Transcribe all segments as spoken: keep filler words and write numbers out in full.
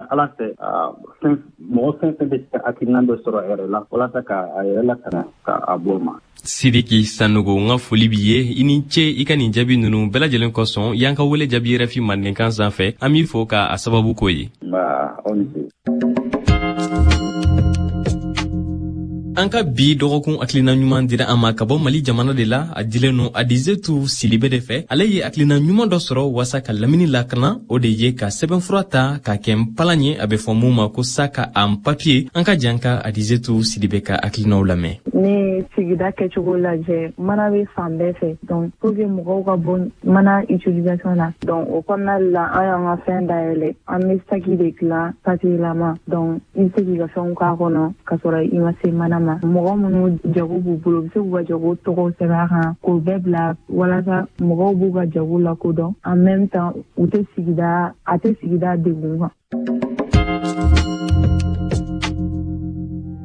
Ala fɛ, fɛn mɔgɔ fɛn fɛn bɛ se ka hakilina dɔ sɔrɔ a yɛrɛ la walasa ka a yɛrɛ lakana ka a bɔ o ma. Sidiki Sanogo, n ka foli b'i ye, i ni ce i ka nin jaabi ninnu bɛɛ lajɛlen kosɔn. Y'an ka wele jaabi R F I mandenkan sanfɛ, an b'i fo ka a sababu k'o ye. Nba, aw ni ce. An ka bi dɔgɔkun hakilina ɲuman dira an ma ka bɔ Mali jamana de la. A dilen no Adizetu Silibe de fɛ. Ale ye hakilina ɲuman dɔ sɔrɔ waasa ka lamini lakana, o de ye ka sɛbɛnfura ta ka kɛ npalan ye, a bɛ fɔ mun ma ko sac en papier. An ka jan ka Adizetu Silibe ka hakilinaw lamɛn. Ne sigida kɛcogo lajɛ, mana bɛ fan bɛɛ fɛ, donc pour que mɔgɔw ka bɔ mana utilisation na. Donc o kɔnɔna la, an y'an ka fɛn dayɛlɛ, an bɛ saki de dilan papier lama, donc i bɛ se k'i ka fɛnw k'a kɔnɔ ka sɔrɔ i ma se mana ma. Mɔgɔ minnu jago b'u bolo, u bɛ se k'u ka jago tɔgɔw sɛbɛn a kan k'o bɛɛ bila walasa mɔgɔw b'u ka jago lakodɔn, en même temps u tɛ sigida a tɛ sigida degun kan.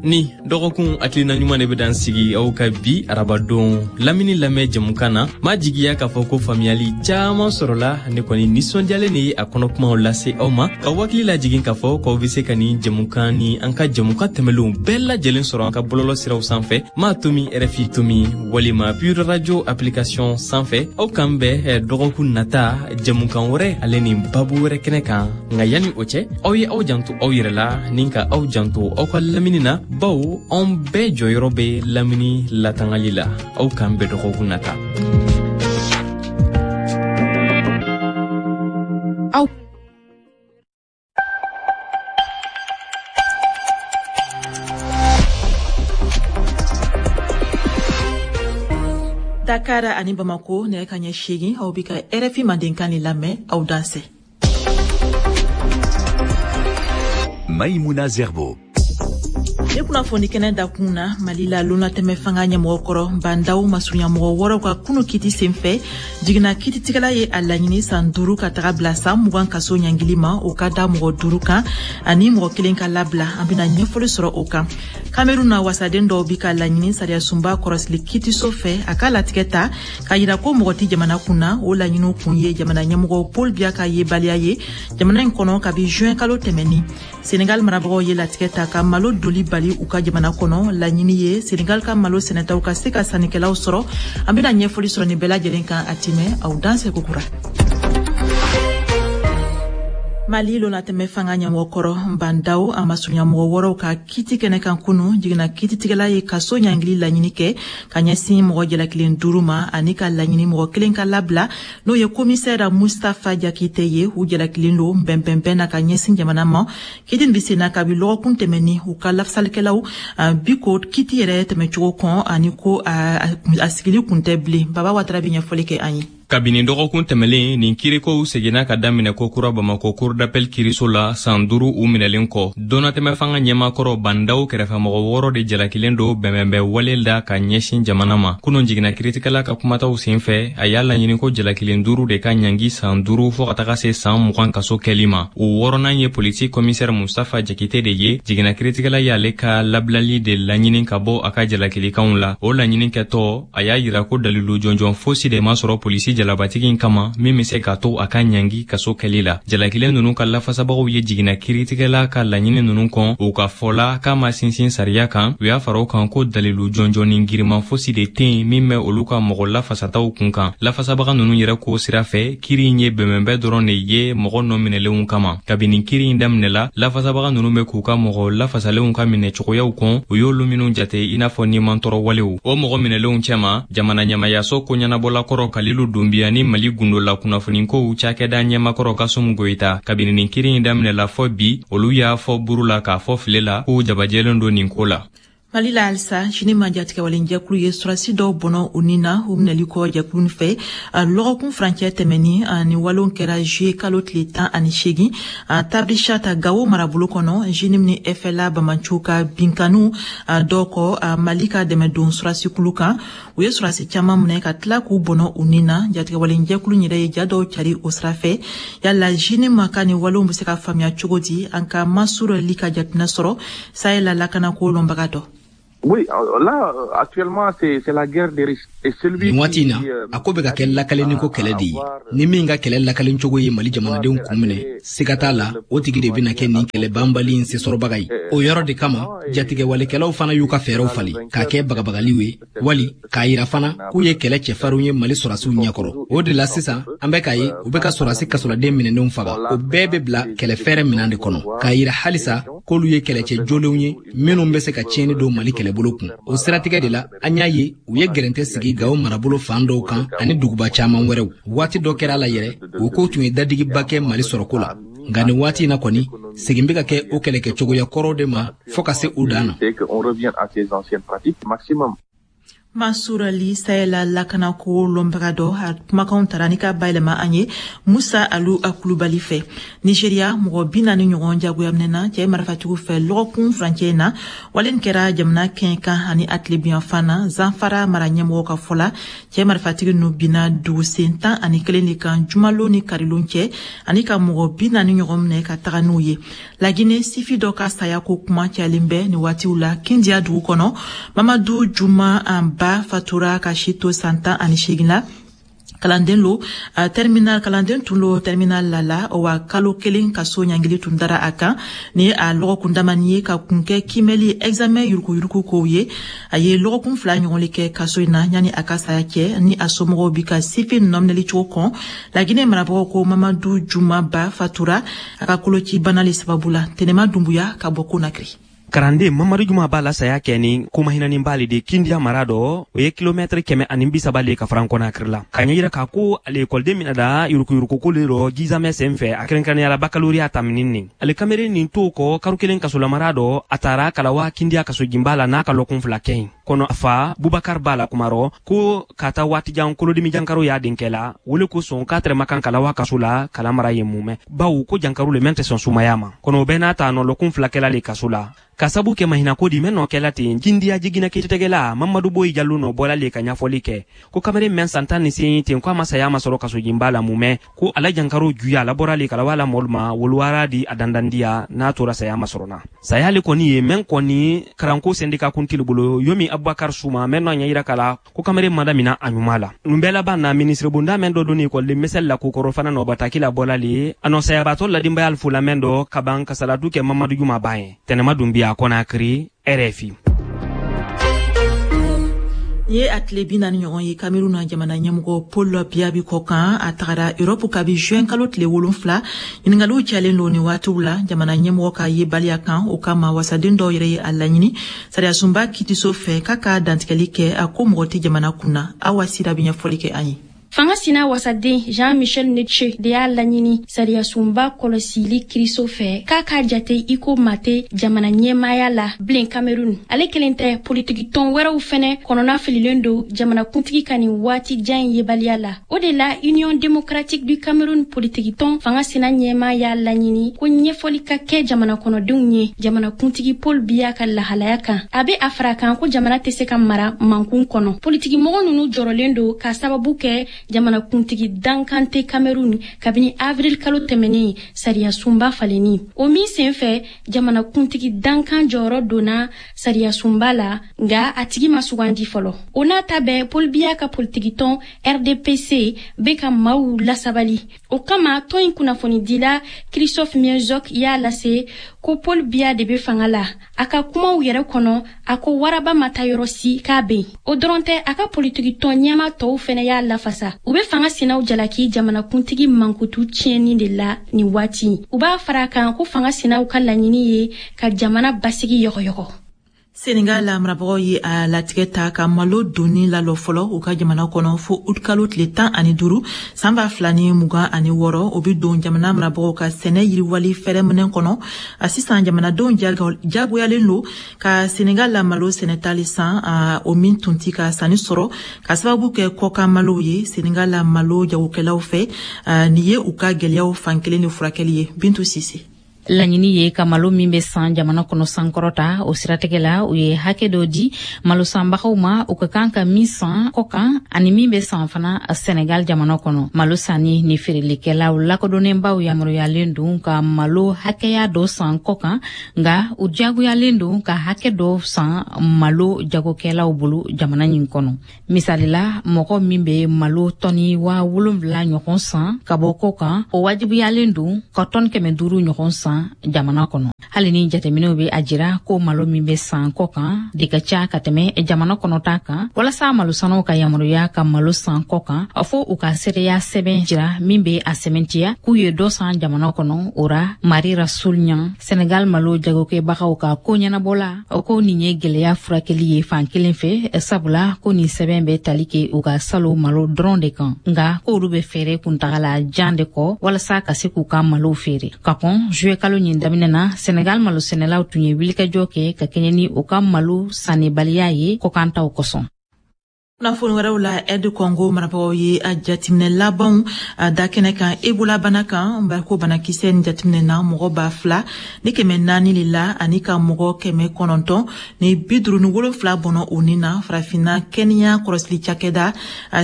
Ni dɔgɔkun hakilina ɲuman de bɛ dan sigi aw ka bi arabadon lamini lamɛn jɛmukan na. M'a jigiya k'a fɔ ko faamuyali caaman sɔrɔla. Ne kɔni nisɔndiyalen de ye a kɔnɔkumaw lase aw ma, ka wakili lajigin k'a fɔ k'aw be se ka nin jɛmukan ni an ka jɛmukan tɛmɛlenw bɛɛ lajɛlen sɔrɔ an ka bɔlɔlɔ siraw sanfɛ, m'a tomi R F I tomi walima Pure Radio application sanfɛ. Aw k'an bɛn dɔgɔkun nata jɛmukan wɛrɛ ale ni babu wɛrɛ kɛnɛ kan. Nka yanni o cɛ, aw ye aw janto aw yɛrɛ la ni ka aw janto aw ka lamini na, bawo anw bɛɛ jɔyɔrɔ bɛ lamini latangali la. Aw k'an bɛn dɔgɔkun nata. Aw Dakar ani Bamako, nɛgɛ ka ɲɛ seegin, aw bi ka R F I mandenkan ni lamɛn. Aw dansɛ. Maïmouna Zerbo. Ne kunnafoni kɛnɛ dakun na, Mali la, lonatɛmɛ fanga ɲɛmɔgɔ kɔrɔ Bandaw masurunyamɔgɔ wɔɔrɔw ka kunu kiti senfɛ, jiginna kititigɛla ye a laɲini san duuru ka taga bila san mugan kaso ɲangili ma, o ka da mɔgɔ duuru kan ani mɔgɔ kelen ka labila. An bena ɲɛfɔli sɔrɔ o kan. Kamerun na, wasaden dɔw bi ka laɲini sariyasunba kɔrɔsili kitiso fɛ a ka latigɛ ta k'a yira ko mɔgɔ tɛ jamana kun na. O laɲiniw kun ye jamana ɲɛmɔgɔ Paul Biya ka yebaliya ye jamana in kɔnɔ kabi juin kalo tɛmɛni. Senegal marabagaw ye latigɛ ta ka malo doli bali u ka jamana kɔnɔ. Laɲini ye Senegal ka malo sɛnɛtaw ka se ka sannikɛlaw sɔrɔ. An bena ɲɛfɔli sɔrɔ nin bɛɛ lajɛlen kan a timɛ. Aw danse kokura. Mali lonatɛmɛ fanga ɲɛmɔgɔ kɔrɔ Bandaw a masurunyamɔgɔ wɔɔrɔw ka kiti kɛnɛ kan kunu, jiginna kititigɛla ye kaso ɲangili laɲini kɛ ka ɲɛsin mɔgɔ jalakilen duuru ma ani ka laɲini mɔgɔ kelen ka labila, n'o ye komisɛra Mustafa Jakite ye. U jalakilen lo bɛnbɛnbɛn na ka ɲɛsin jamana ma. Kiti nin be senna kabi lɔgɔkun tɛmɛni. U ka lafasalikɛlaw bi ko kiti yɛrɛ tɛmɛcogo kɔn ani ko a sigili kun tɛ bilen. Baba Watara be ɲɛfɔli kɛ an ye. Kabini dɔgɔkun tɛmɛlen, nin kirikow seginna ka daminɛ kokura Bamako cour d'appel kiriso la, san duuru u minɛlen kɔ. Donnatɛmɛ fanga ɲɛmakɔrɔ Bandaw kɛrɛfɛmɔgɔ wɔɔrɔ de jalakilen do bɛnbɛnbɛn wale la ka ɲɛsin jamana ma. Kunun, jiginna kiritigɛla ka kumataw sen fɛ, a y'a laɲini ko jalakilen duuru de ka ɲangi san duuru fɔɔ ka taga se san mugan kaso kɛli ma. O wɔɔrɔnan ye polisi komisɛri Mustafa Jakite de ye. Jiginna kiritigɛla y'ale ka labilali de laɲini ka bɔ a ka jalakilikanw la. O laɲini kɛtɔ, a y'a yira ko dalilu jɔnjɔn fosi de ma sɔrɔ polisi jalabatigi in kama min bɛ se k'a to a ka ɲangi kaso kɛli la. Jalakilen ninnu ka lafasabagaw ye jiginna kiritigɛla ka laɲini ninnu kɔn. U ka fɔ la k'a ma sinsin sariya kan. U y'a fara o kan ko dalilu jɔnjɔn giriman fosi de tɛ yen min bɛ olu ka mɔgɔ lafasataw kun kan. Lafasabaga ninnu yɛrɛ ko sira fɛ, kiri in ye bɛnbɛnbɛn dɔrɔn de ye mɔgɔ nɔ minɛlenw kama. Kabini kiri in daminɛla, lafasabaga ninnu bɛ k'u ka mɔgɔ lafasalenw ka minɛ cogoyaw kɔn, u y'olu minnu jate i n'a fɔ nimantɔrɔ walew. O mɔgɔ minɛlenw cɛma, jamana ɲɛmayaso koɲɛnabɔla kɔrɔ Kalilu Dunbiya ni Mali gundola kunnafonikow cakɛda ɲɛmakɔrɔ Kasum Goyita. Kabini nin kiri in daminɛla fɔ bi, olu y'a fɔ buru la k'a fɔ file la k'u jabajɛlen don nin ko la. Mali la halisa, JNIM jatigɛwalenjɛkulu ye surasi dɔw bɔnɔ u ni na, u minɛli kɔ jɛkulu fɛ lɔgɔkun furancɛ tɛmɛni. Ni walew kɛra juillet kalo tile tan ani seegin, Tabrichat, Gawo marabolo kɔnɔ, JNIM ni F L A bamanciw ka binkaniw dɔw kɔ Mali ka dɛmɛdon surasikulu kan. U ye surasi caman minɛ ka tila k'u bɔnɔ u ni na. Jatigɛwalenjɛkulu yɛrɛ ye ja dɔw cari o sira fɛ. Yala JNIM ka nin walew bɛ se ka faamuya cogo di? An ka Masur Li ka jateminɛ sɔrɔ Sahel la lakanako lɔnbaga dɔ. Oui, là, actuellement, c'est, c'est la guerre des risques. Et celui Nin waati in na, a ko bɛ ka kɛ lakalenni ko kɛlɛ de ye. Ni min ka kɛlɛ lakalen cogo ye Mali jamanadenw kun minɛ, siga t'a la, o tigi de bɛna kɛ nin kɛlɛ banbali in sesɔrɔbaga ye. O yɔrɔ de kama, jatigɛwalekɛlaw fana y'u ka fɛɛrɛw falen k'a kɛ bagabagaliw ye, wali k'a yira fana k'u ye kɛlɛ cɛfarinw ye Mali sɔrɔdasiw ɲɛkɔrɔ. O de la sisan, an bɛ k'a ye u bɛ ka sɔrɔdasi kasoladen minɛnenw faga. O bɛɛ bɛ bila kɛlɛ fɛɛrɛ minɛn de kɔnɔ, k'a yira halisa k'olu ye kɛlɛcɛ jolenw ye minnu bɛ se ka tiɲɛni don Mali kɛlɛbolo kun. O siratigɛ de la, an y'a ye u ye gɛrɛntɛ sigi Gawo marabolo fan dɔw kan ani duguba caman wɛrɛw. Waati dɔ kɛra a la yɛrɛ, o ko tun ye dadigiba kɛ Mali sɔrɔko la. Nka nin waati in na kɔni, segin bɛ ka kɛ o kɛlɛkɛcogoya kɔrɔw de ma fɔɔ ka se u dan na. Mansour Ali Sahel lakanako lɔnbaga dɔ a kumakanw tara ni ka bayɛlɛma an ye Musa Alu Kulubali fɛ. Nigeria, mɔgɔ bi naani ɲɔgɔn jagoya minɛna cɛ marifatigiw fɛ lɔgɔkun furancɛ na. Wale kɛra jamana kɛɲɛ kan ani a tilebinyanfan na. Zamfara mara ɲɛmɔgɔ ka fɔ la, cɛ marifatigi ninnu binna dugusen tan ani kelen de kan jumalon ni karilon cɛ, ani ka mɔgɔ bi naani ɲɔgɔn minɛ ka taga n'u ye. Lagine, sifi dɔ ka saya ko kuma cayalen bɛ nin waatiw la Kindiya dugu kɔnɔ. Mamadu Juma an ba fatura ka si to san tan ani seegin la. Kalanden lo terminal, kalanden tun lo terminal la la wa kalo kelen kaso ɲangili tun dara a kan. Ni a lɔgɔkun damani ye ka kun kɛ kimɛli examen yurukuyuruku kow ye. A ye lɔgɔkun fila ɲɔgɔn le kɛ kaso in na yanni a ka saya cɛ. Ni a somɔgɔw bi ka sifin nɔminɛli cogo kɔn, Laginɛ marabagaw ko Mamadu Juma Ba fatura a ka koloci bana le sababu la. Tɛnɛma Dunbuya ka bɔ Konakiri. Karanden Mamadu Juma b'a la saya kɛ ni komahinanin b'ale de Kindiya mara dɔ, o ye kilomɛtiri kɛmɛ ani bi saba le ka faran Kɔnakiri la. Ka ɲɛ yira k'a ko ale ekɔliden mina da yurukuyurukuko le rɔ jizamɛ sen fɛ, a kɛrɛnkɛrɛnnenya la bakaloriya taminin nin. Ale kameren nin t'o kɔ karo kelen kasolamara dɔ, a taara kalawa Kindiya kasojinba la n'a ka lɔkun fila kɛ yen kɔnɔ. A fa Bubakar b'a la kumarɔ ko ka taa waatijan kolodimi jankaro y'a denkɛ la, wele ko sɔn k'a tɛrɛma kan kalawa kaso la kala mara ye mumɛ, bawo ko jankaro le mɛn tɛ sɔn sumaya ma. Kɔnɔ o bɛɛ n'a ta nɔ lɔkun fila kɛla le kaso la ka sabu kɛ mahinako di mɛn nɔ kɛla ten. Jindiya jigina kiiritigɛla Mamadu Boyi Jalo nɔ bɔla le ka ɲɛfɔli kɛ ko kamalen mɛn san tan ni seegin ten ko a ma saya ma sɔrɔ kasojinba la mumɛ, ko ala jankaro juya labɔra le kalawa la mɔlu ma woluwara di a dandandiya n'a tora saya ma sɔrɔ na. Saya le kɔni ye mɛn kɔni karanko sɛndika kuntili bolo yomi Abubakar Suma mɛn nɔ ɲɛ yira kala ko kamalen ma damina a ɲuman la. Nun bɛɛ laban na, minisiribonda mɛn dɔ donni ekɔliden misɛli la kokɔrɔ fana nɔ bataki la bɔla le a nɔ sayabatɔ ladinbaya fo la mɛn dɔ ka ban kasaladu kɛ Mamadu Juma ban ye. Tɛnɛma Dunbiya, Conakry, R F I. Ye a tile bi naani ɲɔgɔn ye Kamerun na jamana ɲɛmɔgɔ Paul Biya bi kɔ kan. A tagara Europe kabi juin kalo tile wolonfila. Ɲiningaliw cayalen don nin waatiw la jamana ɲɛmɔgɔ ka yebaliya kan. O kama, wasaden dɔw yɛrɛ ye a laɲini sariyasunba kitiso fɛ k'a ka dantigɛli kɛ a ko mɔgɔ tɛ jamana kun na. Awa Sira bɛ ɲɛfɔli kɛ an ye. Fanga sina wasaden Jean-Michel Nintcheu de y'a laɲini sariyasunba kɔlɔsili kiriso fɛ k'a k'a jate i ko mate jamana ɲɛmaaya la bilen Cameroun. Ale kelen tɛ, politikitɔn wɛrɛw fɛnɛ kɔnɔna fililen don jamanakuntigi ka nin waati jan in yebaliya la. O de la, Union démocratique du Cameroun politikitɔn fanga sina ɲɛma y'a laɲini ko ɲɛfɔli ka kɛ jamana kɔnɔdenw ye jamanakuntigi Paul Biya ka lahalaya kan. A be a fara kan ko jamana tɛ se ka mara mankun kɔnɔ. Politikimɔgɔ nunu jɔrɔlen don k'a sababu kɛ jamanakuntigi dankan tɛ Cameroun kabini avril kalo tɛmɛnen, sariyasunba falenni o min sen fɛ jamanakuntigi dankan jɔyɔrɔ donna sariyasunba la, nga a tigi ma sugandi fɔlɔ. O n'a ta bɛɛ, Paul Biya ka politikitɔn R D P C bɛ ka maaw lasabali. O kama, tɔn in kunnafonidila Christophe Miezok y'a lase ko Paul Biya de bɛ fanga la. A ka kumaw yɛrɛ kɔnɔ, a ko waraba ma taa yɔrɔ si, k'a bɛ yen. O dɔrɔn tɛ, a ka politikitɔn ɲɛma tɔw fɛnɛ y'a lafasa. U bɛ fanga sinaw jalaki jamanakuntigi mankutu tiɲɛni de la nin waati. U b'a fara a kan ko fanga sinaw ka laɲini ye ka jamana basigi yɔgɔyɔgɔ. Senegal la marabagaw ye a latigɛ ta ka malo donni lalɔ fɔlɔ u ka jamana kɔnɔ fo utikalo tile tan ani duuru san ba fila ni mugan ani wɔɔrɔ. O be don jamana marabagaw ka sɛnɛ yiriwali fɛrɛminɛ kɔnɔ. A sisan, jamanadenw jagoyalen lo ka Senegal la malo sɛnɛtali san, o min tun ti ka sanni sɔrɔ ka sababu kɛ kɔkan malow ye. Senegal la malo jagokɛlaw fɛ, nin ye u ka gwɛlɛyaw fan kelen de furakɛli ye. Bintu Sise. Laɲini ye ka malo min bɛ san jamana kɔnɔ sankɔrɔta. O siratigɛ la, u ye hakɛ dɔ di malo sanbagaw ma, u ka kan ka min san kɔkan ani min bɛ san fana Senegal jamana kɔnɔ. Malo sanni ni feerelikɛlaw lakodɔnnenbaw yamaruyalen don ka malo hakɛya dɔ san kɔkan, nka u diyagoyalen don ka hakɛ dɔ san malo jagokɛlaw bolo jamana nin kɔnɔ. Misali la, mɔgɔ min bɛ malo tɔni waa wolonwula ɲɔgɔn san ka bɔ kɔkan, o wajibiyalen don ka tɔni kɛmɛ duuru ɲɔgɔn san jamana kɔnɔ. Hali ni jateminɛw bɛ a jira ko malo min bɛ san kɔkan de ka ca ka tɛmɛ jamana kɔnɔta kan, walasa malosanaw ka yamaruya ka malo san kɔkan, fo u ka seereya sɛbɛn jira min bɛ a sɛmɛntiya k'u ye dɔ san jamana kɔnɔ. O ra, Mari Rasul Ɲan, Senegal malo jagokɛbagaw ka ko ɲɛnabɔla, o ko nin ye gɛlɛya furakɛli ye fan kelen fɛ, sabula ko nin sɛbɛn bɛ tali kɛ u ka salo malo dɔrɔn de kan, nka k'olu bɛ fɛɛrɛ kuntagala jan de kɔ walasa ka se k'u ka malow feere. Ka kɔn juillet kalo ɲin daminɛ na, Senegal malosɛnɛlaw tun ye wulikajɔ kɛ ka kɛɲɛ ni u ka malo sannibaliya ye kɔkantaw kosɔn. Kunnafoni wɛrɛw la, R D Congo marabagaw ye a jateminɛ labanw da kɛnɛ kan Ebola bana kan. Ko banakisɛ nin jateminɛ na mɔgɔ ba fila ni kɛmɛ naani de la, ani ka mɔgɔ kɛmɛ kɔnɔntɔn ni bi duuru ni wolonfila bɔnɔ o ni na. Farafinna kɛnɛya kɔlɔsili cakɛda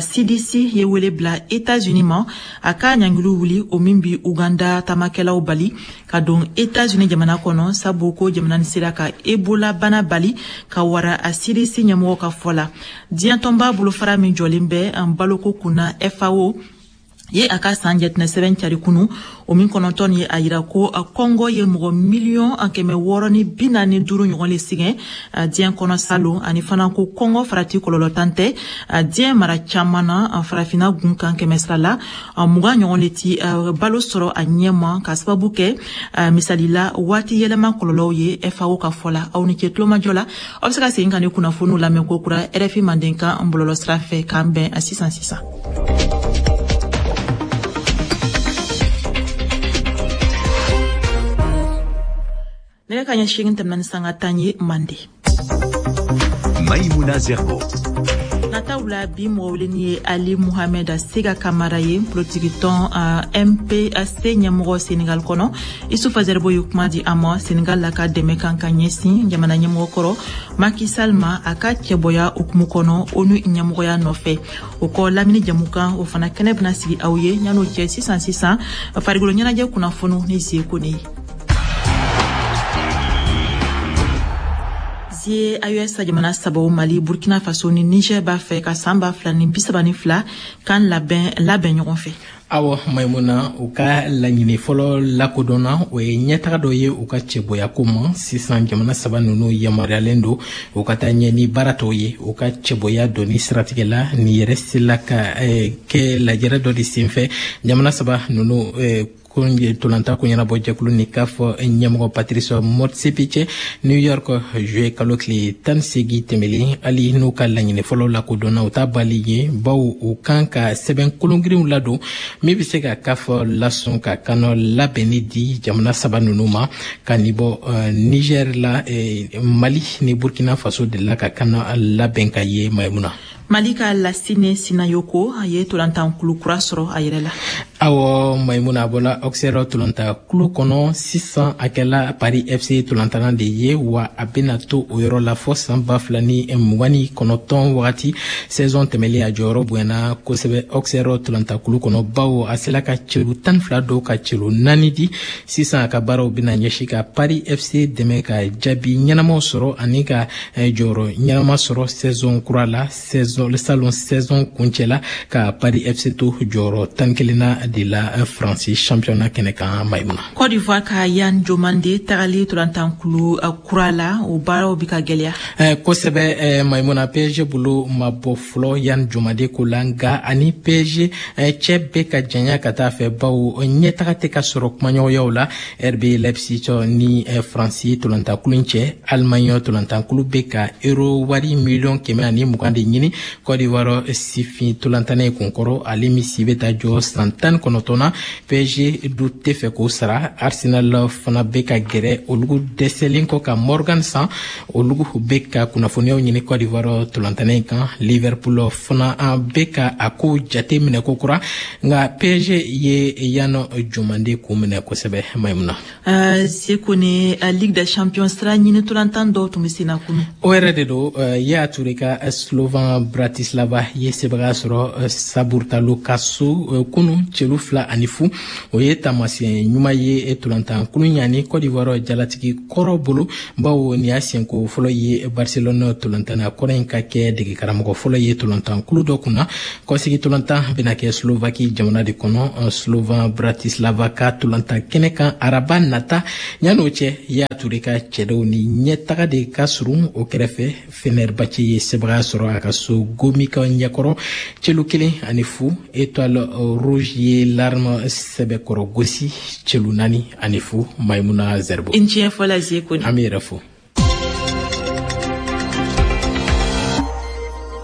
C D C ye wele bila États-Unis ma a ka ɲangiliw wuli, o min bi Uganda taamakɛlaw bali ka don États-Unis jamana kɔnɔ, sabu ko jamana nin sera ka Ebola bana bali ka wara a C D C ɲɛmɔgɔ ka fɔ la. Diɲɛ tɔnba bolofara min jɔlen bɛ an baloko kunna F A O ye a ka san jateminɛ sɛbɛn cari kunu, o min kɔnɔntɔn ye a yira ko Kɔngɔ ye mɔgɔ miliyɔn kɛmɛ wɔɔrɔ ni bi naani duuru ɲɔgɔn le sɛgɛn diɲɛ kɔnɔ salon, ani fana ko kɔngɔ farati kɔlɔlɔ tan tɛ diɲɛ mara caman na. Farafinna gun kan kɛmɛ sira la mugan ɲɔgɔn le ti balo sɔrɔ a ɲɛma, ka sababu kɛ misali la waati yɛlɛma kɔlɔlɔw ye, F A O ka fɔ la. Aw ni ce tulomajɔ la, aw bɛ se ka segin ka ni kunnafoniw lamɛn ko kura R F I Mandenkan bɔlɔlɔ sira fɛ. K'an bɛn a sisan sisan. Nɛgɛ ka ɲɛ seegin tɛmɛna ni sanga tan ye Mande. Maïmouna Zerbo. Nataw la, bi mɔgɔ weleni ye Ali Mohamed Sega Kamara ye, politikitɔn M P C ɲɛmɔgɔ Senegal kɔnɔ. Isufa Zerbo ye kuma di a ma Senegal la ka dɛmɛ kan ka ɲɛsin jamana ɲɛmɔgɔ kɔrɔ Macky Sall ma a ka cɛbɔya hukumu kɔnɔ ONU ɲɛmɔgɔya nɔfɛ. O kɔ, lamini jamukan o fana kɛnɛ bɛna sigi aw ye. Yan'o cɛ, sisan sisan farikolo ɲɛnajɛ kunnafoniw ni Zie Kone ye. A E S jamana sabaw Mali, Burkina Faso ni Niger b'a fɛ ka san ba fila ni bi saba ni fila kan labɛn labɛn ɲɔgɔn fɛ. Awɔ Maimuna, u ka laɲini fɔlɔ lakodɔnna, o ye ɲɛtaga dɔ ye u ka cɛbɔya ko ma. Sisan jamana saba ninnu yamaruyalen don u ka taa ɲɛ ni baara tɔw ye u ka cɛbɔya donni siratigɛ la. Nin yɛrɛ sela ka eh, kɛ lajɛrɛ dɔ de senfɛ jamana saba ninnu eh, tolanta ko ɲɛnabɔ jɛkulu ni k'a fɔ ɲɛmɔgɔ Patrice Motsepe cɛ New York juillet kalo tile tan seegin tɛmɛlen. Hali n'u ka laɲini fɔlɔ lakodɔnna, u t'a bali ye, bawo u kan ka sɛbɛn kolongirinw ladon min bɛ se ka k'a fɔ lasɔn ka kanɔ labɛnni di jamana saba ninnu ma. Ka nin bɔ Niger la, Mali ni Burkina Faso de la ka kanɔ labɛn ka ye Maimuna. Mali ka Lassine Sinayoko a ye tolantankulu kura sɔrɔ a yɛrɛ la. Awɔ Maimuna, a bɔla Auxerre tolantankulu kɔnɔ, sisan a kɛla Paris F C tolantanna de ye, wa a bɛna to o yɔrɔ la fɔ san ba fila ni mugan ni kɔnɔntɔn wagati. Saison tɛmɛlen, a jɔyɔrɔ bonyana kosɛbɛ Auxerre tolantankulu kɔnɔ, bawo a sela ka celu tan ni fila dɔw ka celu naani di. Sisan a ka baaraw bɛna ɲɛsin ka Paris F C dɛmɛ ka jaabi ɲɛnamaw sɔrɔ ani ka jɔyɔrɔ ɲɛnama sɔrɔ saison kura la, saison salon saison kuncɛ la, ka Paris F C to jɔyɔrɔ tan kelen na de la France championnat kɛnɛ kan Maimuna. Côte d'Ivoire ka Yan Jomande tagali tolantankulu kura la, o baaraw bɛ ka gɛlɛya. Eh, kosɛbɛ eh, Maimuna, P S G bolo ma bɔ fɔlɔ Yan Jomande ko la, nka ani P S G eh, cɛ bɛ ka janya ka taa fɛ, bawo ɲɛtaga tɛ ka sɔrɔ kumaɲɔgɔnyaw la R B Leipzig ni eh, France tolantankulu cɛ. Allemagne tolantankulu bɛ ka euro wari miliyɔn kɛmɛ ani mugan de ɲini Côte d'Ivoire sifin ntolantana ye kunkɔrɔ, ale min si bɛ taa jɔ san tan kɔnɔntɔn na, P S G du tɛ fɛ k'o sara. Arsenal fana bɛ ka gɛrɛ olugu dɛsɛlen kɔ ka Morgan san, olugu bɛ ka kunnafoniyaw ɲini Côte d'Ivoire ntolantana in kan. Liverpool fana bɛ ka a ko jate minɛ ko kura, nka P S G ye Yan Jomande kun minɛ kosɛbɛ, Maimuna. uh, Seko ni uh, Ligue des Champions sira ɲini ntolantan dɔw tun bɛ sen na kunu. O yɛrɛ de don. Yaya Toure ka Slovan Bratislava ye sebaga sɔrɔ Saburtalo ka so kunu celu fila ani fu. O ye taamasiyɛn ɲuman ye ntolantan kulu ɲani Côte d'Ivoire jalatigi kɔrɔ bolo, bawo nin y'a siɲɛko fɔlɔ ye Barcelone ntolantanna kɔrɔ in ka kɛ degekaramɔgɔ fɔlɔ ye ntolantan kulu dɔ kunna. Kɔsigi ntolantan bɛna kɛ Slovaki jamana de kɔnɔ, Slovan Bratislava ka ntolantan kɛnɛ kan araba nata. Yan'o cɛ, Yaya Toure ka cɛdenw ni ɲɛtaga de ka surun. O kɛrɛfɛ, Fenerbahce ye sebaga sɔrɔ a ka so Gomika ɲɛkɔrɔ celu kelen ani fu. Étoile Rouge ye Larme sɛbɛkɔrɔ gosi celu naani ani fu, Maimuna Zerbo. I tiɲɛ fɔla, Zeko. An bɛ yɛrɛ fo.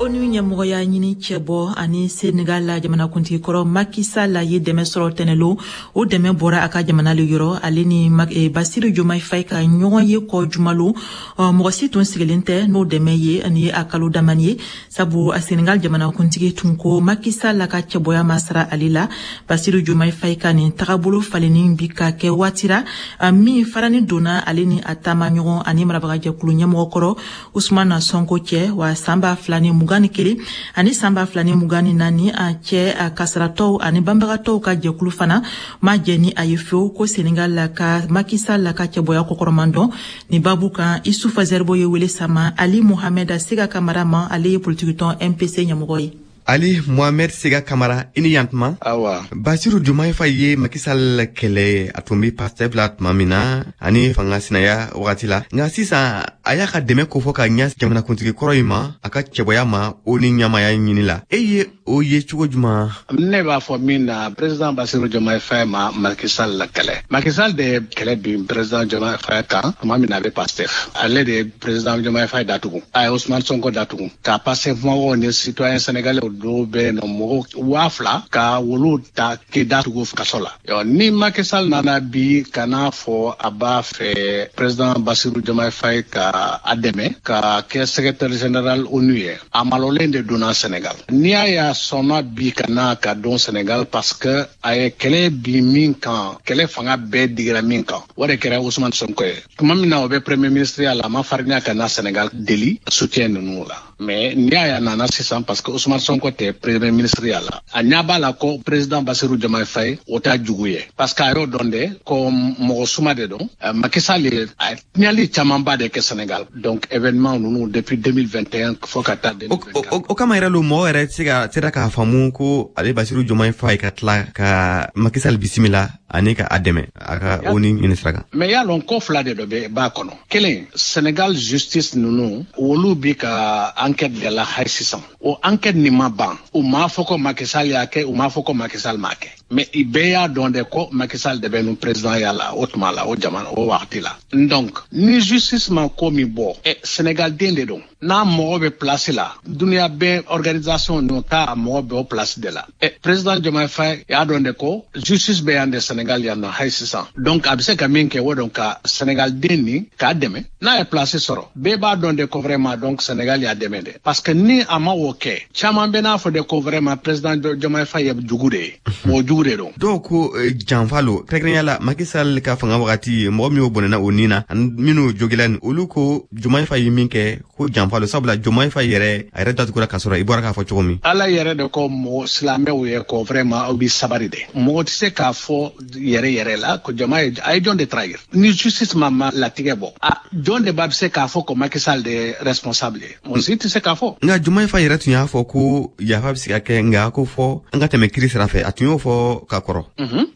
ONU ɲɛmɔgɔya ɲini cɛbɔ ani Senegal la jamanakuntigi kɔrɔ Macky Sall ye dɛmɛ sɔrɔ tɛnɛlo. O dɛmɛ bɔra a ka jamana le yɔrɔ. Ale ni Basiru Jomayi Fayi ka ɲɔgɔn ye kɔ jumalo, mɔgɔ si tun sigilen tɛ n'o dɛmɛ ye ani ye a kalo damani ye, sabu a Senegal jamanakuntigi tun ko Macky Sall ka cɛbɔya ma sara ale la. Basiru Jomayi Fayi ka nin tagabolo falenni bi ka kɛ waati ra min farani donna ale ni a taama ɲɔgɔn ani marabagajɛkulu ɲɛmɔgɔ kɔrɔ Usumana Sonko cɛ. Wa san ba fila ni mugan ni kelen ani san ba fila ni mugan ni naani a cɛ, a kasaratɔw ani banbagatɔw ka jɛkulu fana ma jɛ ni a ye fewu ko Senegal la ka Macky Sall la ka cɛbɔya kɔkɔrɔman dɔn. Nin babu kan, Isufa Zɛribo ye wele sama Ali Mohamɛd Sega Kamara ma, ale ye politikitɔn M P C ɲɛmɔgɔ ye. Ali Mohamed Sega Kamara, i ni yantuma. Awa. Basiru Jomayi Fayi ye Macky Sall kɛlɛ a tun bɛ Pastef la tuma min na ani fanga sinaya wagati la, nka sisan a y'a ka dɛmɛ kofɔ ka ɲɛ jamanakuntigi kɔrɔ in ma, a ka cɛbɔya ma o ni ɲamaya ɲini la. E ye o ye cogo juman? Ne b'a fɔ min na, président Basiru Jomayi Fayi ma Macky Sall la kɛlɛ. Macky Sall de ye kɛlɛ bin président Jomayi Fayi kan tuma min na a bɛ Pastef. Ale de ye président Jomayi Fayi datugu, a ye Ousmane Sonko datugu, ka Pastef mɔgɔw ni citoyen sénégalais dɔw bɛ yen nɔ, mɔgɔ waa fila ka wolu ta k'i datugu kaso la. Ni Macky Sall nana bi ka n'a fɔ a b'a fɛ président Basiru Jomayi Fayi ka a dɛmɛ ka kɛ secrétaire général ONU ye, a malolen de donna Sénégal. N'i y'a ye a sɔnna bi ka na ka don Sénégal, parce que a ye kɛlɛ bi min kan, kɛlɛ fanga bɛɛ digira min kan, o de kɛra Ousmane Sonko ye. Tuma min na o bɛ premier ministre ya la, a ma farinya ka na Sénégal deli soutien ninnu la. Mais n'i y'a ye a nana sisan, parce que Ousmane Sonko tɛ premier ministre ya la, a ɲɛ b'a la ko président Bassirou Diomaye Faye o t'a jugu ye, parce que a y'o dɔn de ko mɔgɔ suma de don. Macky Sall ye a tiɲɛli camanba de kɛ Sénégal, donc événement ninnu depuis deux mille vingt et un fo ka taa deux mille vingt-quatre. O kama yɛrɛ lo, mɔgɔ yɛrɛ tɛ se ka sera k'a faamu ko ale Basiru Diomaye Faye ka tila ka Macky Sall bisimila ani ka a dɛmɛ a ka ONU ɲini sira kan. Mais y'a lɔn ko fila de dɔ bɛ b'a kɔnɔ. Kelen, Sénégal justice ninnu, olu bi ka enquête de la hali sisan. O enquête nin ma ban. U m'a fɔ ko Macky Sall y'a kɛ, u m'a fɔ ko Macky Sall m'a kɛ, mais i bɛɛ y'a dɔn de ko Macky Sall de bɛ nu président ya la o tuma la, o jamana o wagati la. Donc ni justice ma ko min bɔ, ɛ Sénégal den de don, n'a mɔgɔ bɛ place la, dunuya bɛɛ organisation ninnu k'a mɔgɔ bɛ o place de la. Ɛ président Diomaye Faye y'a dɔn de ko justice bɛ yan de Sénégal yan nɔ hali sisan. Donc a bɛ se ka min kɛ, o don ka Sénégal den nin k'a dɛmɛ n'a ye place sɔrɔ. Bɛɛ b'a dɔn de ko vraiment donc Sénégal y'a dɛmɛ de, parce que ni a ma o kɛ, caman bɛ n'a fɔ de ko vraiment président Diomaye Faye ye jugu de ye, mɔgɔ jugu de don. Dɔw ko janfa lo, kɛrɛnkɛrɛnya la Macky Sall ka fanga wagati, mɔgɔ min y'o bɔnɛna o nin na ani minnu jogila ni olu, ko Diomaye Faye ye min kɛ ko janfa lo, sabula Diomaye Faye yɛrɛ a yɛrɛ datugura ka sɔrɔ i bɔra k'a fɔ cogo min. Ala yɛrɛ de ko mɔgɔ silamɛw ye ko vraiment aw bi sabari de. Mɔgɔ tɛ se k'a fɔ yɛrɛ yɛrɛ la ko Diomaye a ye jɔn de trahir. Ni justice ma ma latigɛ bɔ, a jɔn de b'a bɛ se k'a fɔ ko Macky Sall de ye responsable ye? Mɔgɔ si tɛ se k'a fɔ. Nka Diomaye Faye yɛrɛ tun y'a fɔ ko yafa bɛ se ka kɛ, nka ko fɔ an ka tɛmɛ kiri sira fɛ. A tun y'o fɔ. fɔ ka kɔrɔ.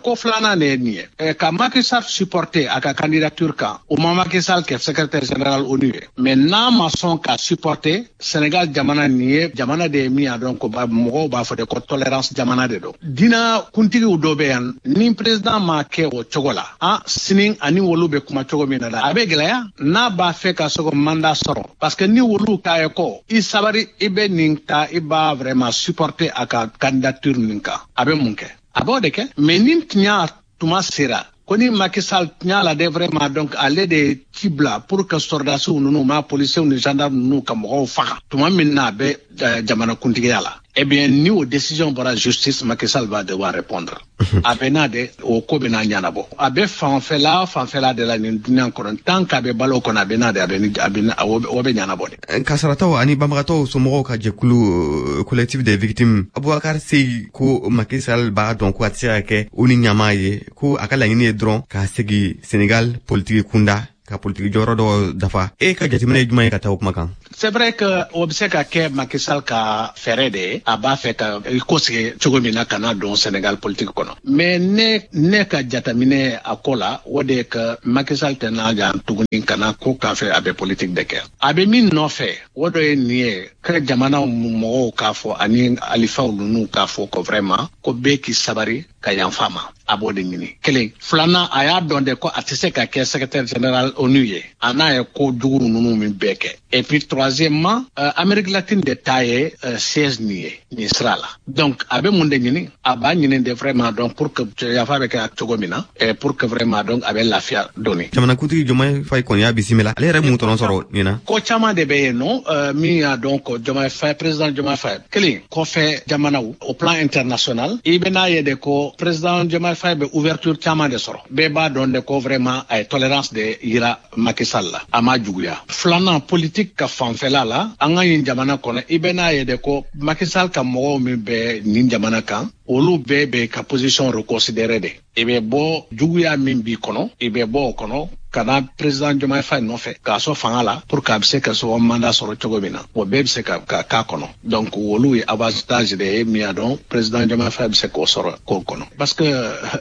Ko filanan de ye nin ye, ka Macky Sall supporter a ka candidature kan, o ma Macky Sall kɛ secrétaire général ONU ye, mais n'a ma sɔn ka supporter Sénégal jamana nin ye, jamana de ye min y'a dɔn ko mɔgɔw b'a fɔ de ko tolérance jamana de don. Diina kuntigiw dɔ bɛ yan, ni président ma kɛ o cogo la, ah sini ani wolu bɛ kuma cogo min na la, a bɛ gɛlɛya n'a b'a fɛ ka se ko mandat sɔrɔ, parce que ni wolu k'a ye ko i sabari, i bɛ nin ta, i b'a vraiment supporter a ka candidature nin kan, a bɛ mun kɛ? A b'o de kɛ. Mais ni tiɲɛ tuma sera ko ni Macky Sall tiɲɛ la de vraiment donc ale de ci bila pour que sɔrɔdasiw ninnu ma policiers ni gendarmes ninnu ka mɔgɔw faga tuma min na a bɛ jamana kuntigiya la, eh bien ni o décision bɔra justice, Macky Sall va devoir répondre. A bɛ n'a de o ko bɛ n'a ɲɛnabɔ, a bɛ fanfɛla fanfɛla de la nin dunuya kɔnɔ, tant qu'a bɛ balo kɔnɔ, a bɛ n'a de a bɛ a bɛ o bɛ ɲɛnabɔ de. Kasarataw ani banbagatɔw somɔgɔw ka jɛkulu collectif des victimes, Aboubacar Seye ko Macky Sall b'a dɔn ko a tɛ se ka kɛ o ni ɲamaa ye, ko a ka laɲini ye dɔrɔn ka segin Sénégal politiki kunda, ka politiki jɔyɔrɔ dɔ dafa. E ka jateminɛ ye jumɛn ye ka taa o kuma kan? C'est vrai que o bɛ se ka kɛ Macky Sall ka fɛɛrɛ de ye, a b'a fɛ ka i kosigi cogo min na ka na don Sénégal politique kɔnɔ. Mais ne ne ka jateminɛ a ko la, o de ye que Macky Sall tɛ n'a jan tuguni ka na ko k'a fɛ a bɛ politique de kɛ. A bɛ min nɔfɛ, o dɔ ye nin ye, ka jamanaw mɔgɔw k'a fɔ ani alifaw ninnu k'a fɔ ko vraiment ko bɛɛ k'i sabari ka yanfa ma, a b'o de ɲini. Kelen filanan, a y'a dɔn de ko a tɛ se ka kɛ secrétaire général ONU ye, a n'a ye ko jugu ninnu min bɛɛ kɛ. Et puis troisièmement, euh, Amérique latine de ta ye euh, siège nin ye nin sira la. Donc a bɛ mun de ɲini? A b'a ɲini de vraiment donc pour que yafa bɛ kɛ cogo min na, et pour que vraiment donc a bɛ lafiya dɔɔni. Jamanakuntigi Diomaye Faye kɔni y'a bisimila, ale yɛrɛ mun tɔnɔ sɔrɔ nin na? Ko caman de bɛ yen nɔ, euh, min y'a dɔn ko Diomaye Faye, président Diomaye Faye kelen kɔfɛ jamanaw au plan international, i bɛ n'a ye de ko président Diomaye Faye bɛ ouverture caman de sɔrɔ. Bɛɛ b'a dɔn de ko vraiment a ye tolérance de yira Macky Sall la, a ma juguya. Filanan, politique ka fanfɛla la, an ka nin jamana kɔnɔ, i bɛ n'a ye de ko Macky Sall ka mɔgɔw min bɛ nin jamana kan, olu bɛɛ bɛ ka position reconsidérer de. I bɛ bɔ juguya min b'i kɔnɔ, i bɛ bɔ o kɔnɔ ka na président Diomaye Faye nɔfɛ k'a sɔn fanga la pour que a bɛ se ka sɔn mandat sɔrɔ cogo min na, o bɛɛ bɛ se ka ka k'a kɔnɔ. Donc olu ye avantage de ye min y'a dɔn président Diomaye Faye bɛ se k'o sɔrɔ k'o kɔnɔ, parce que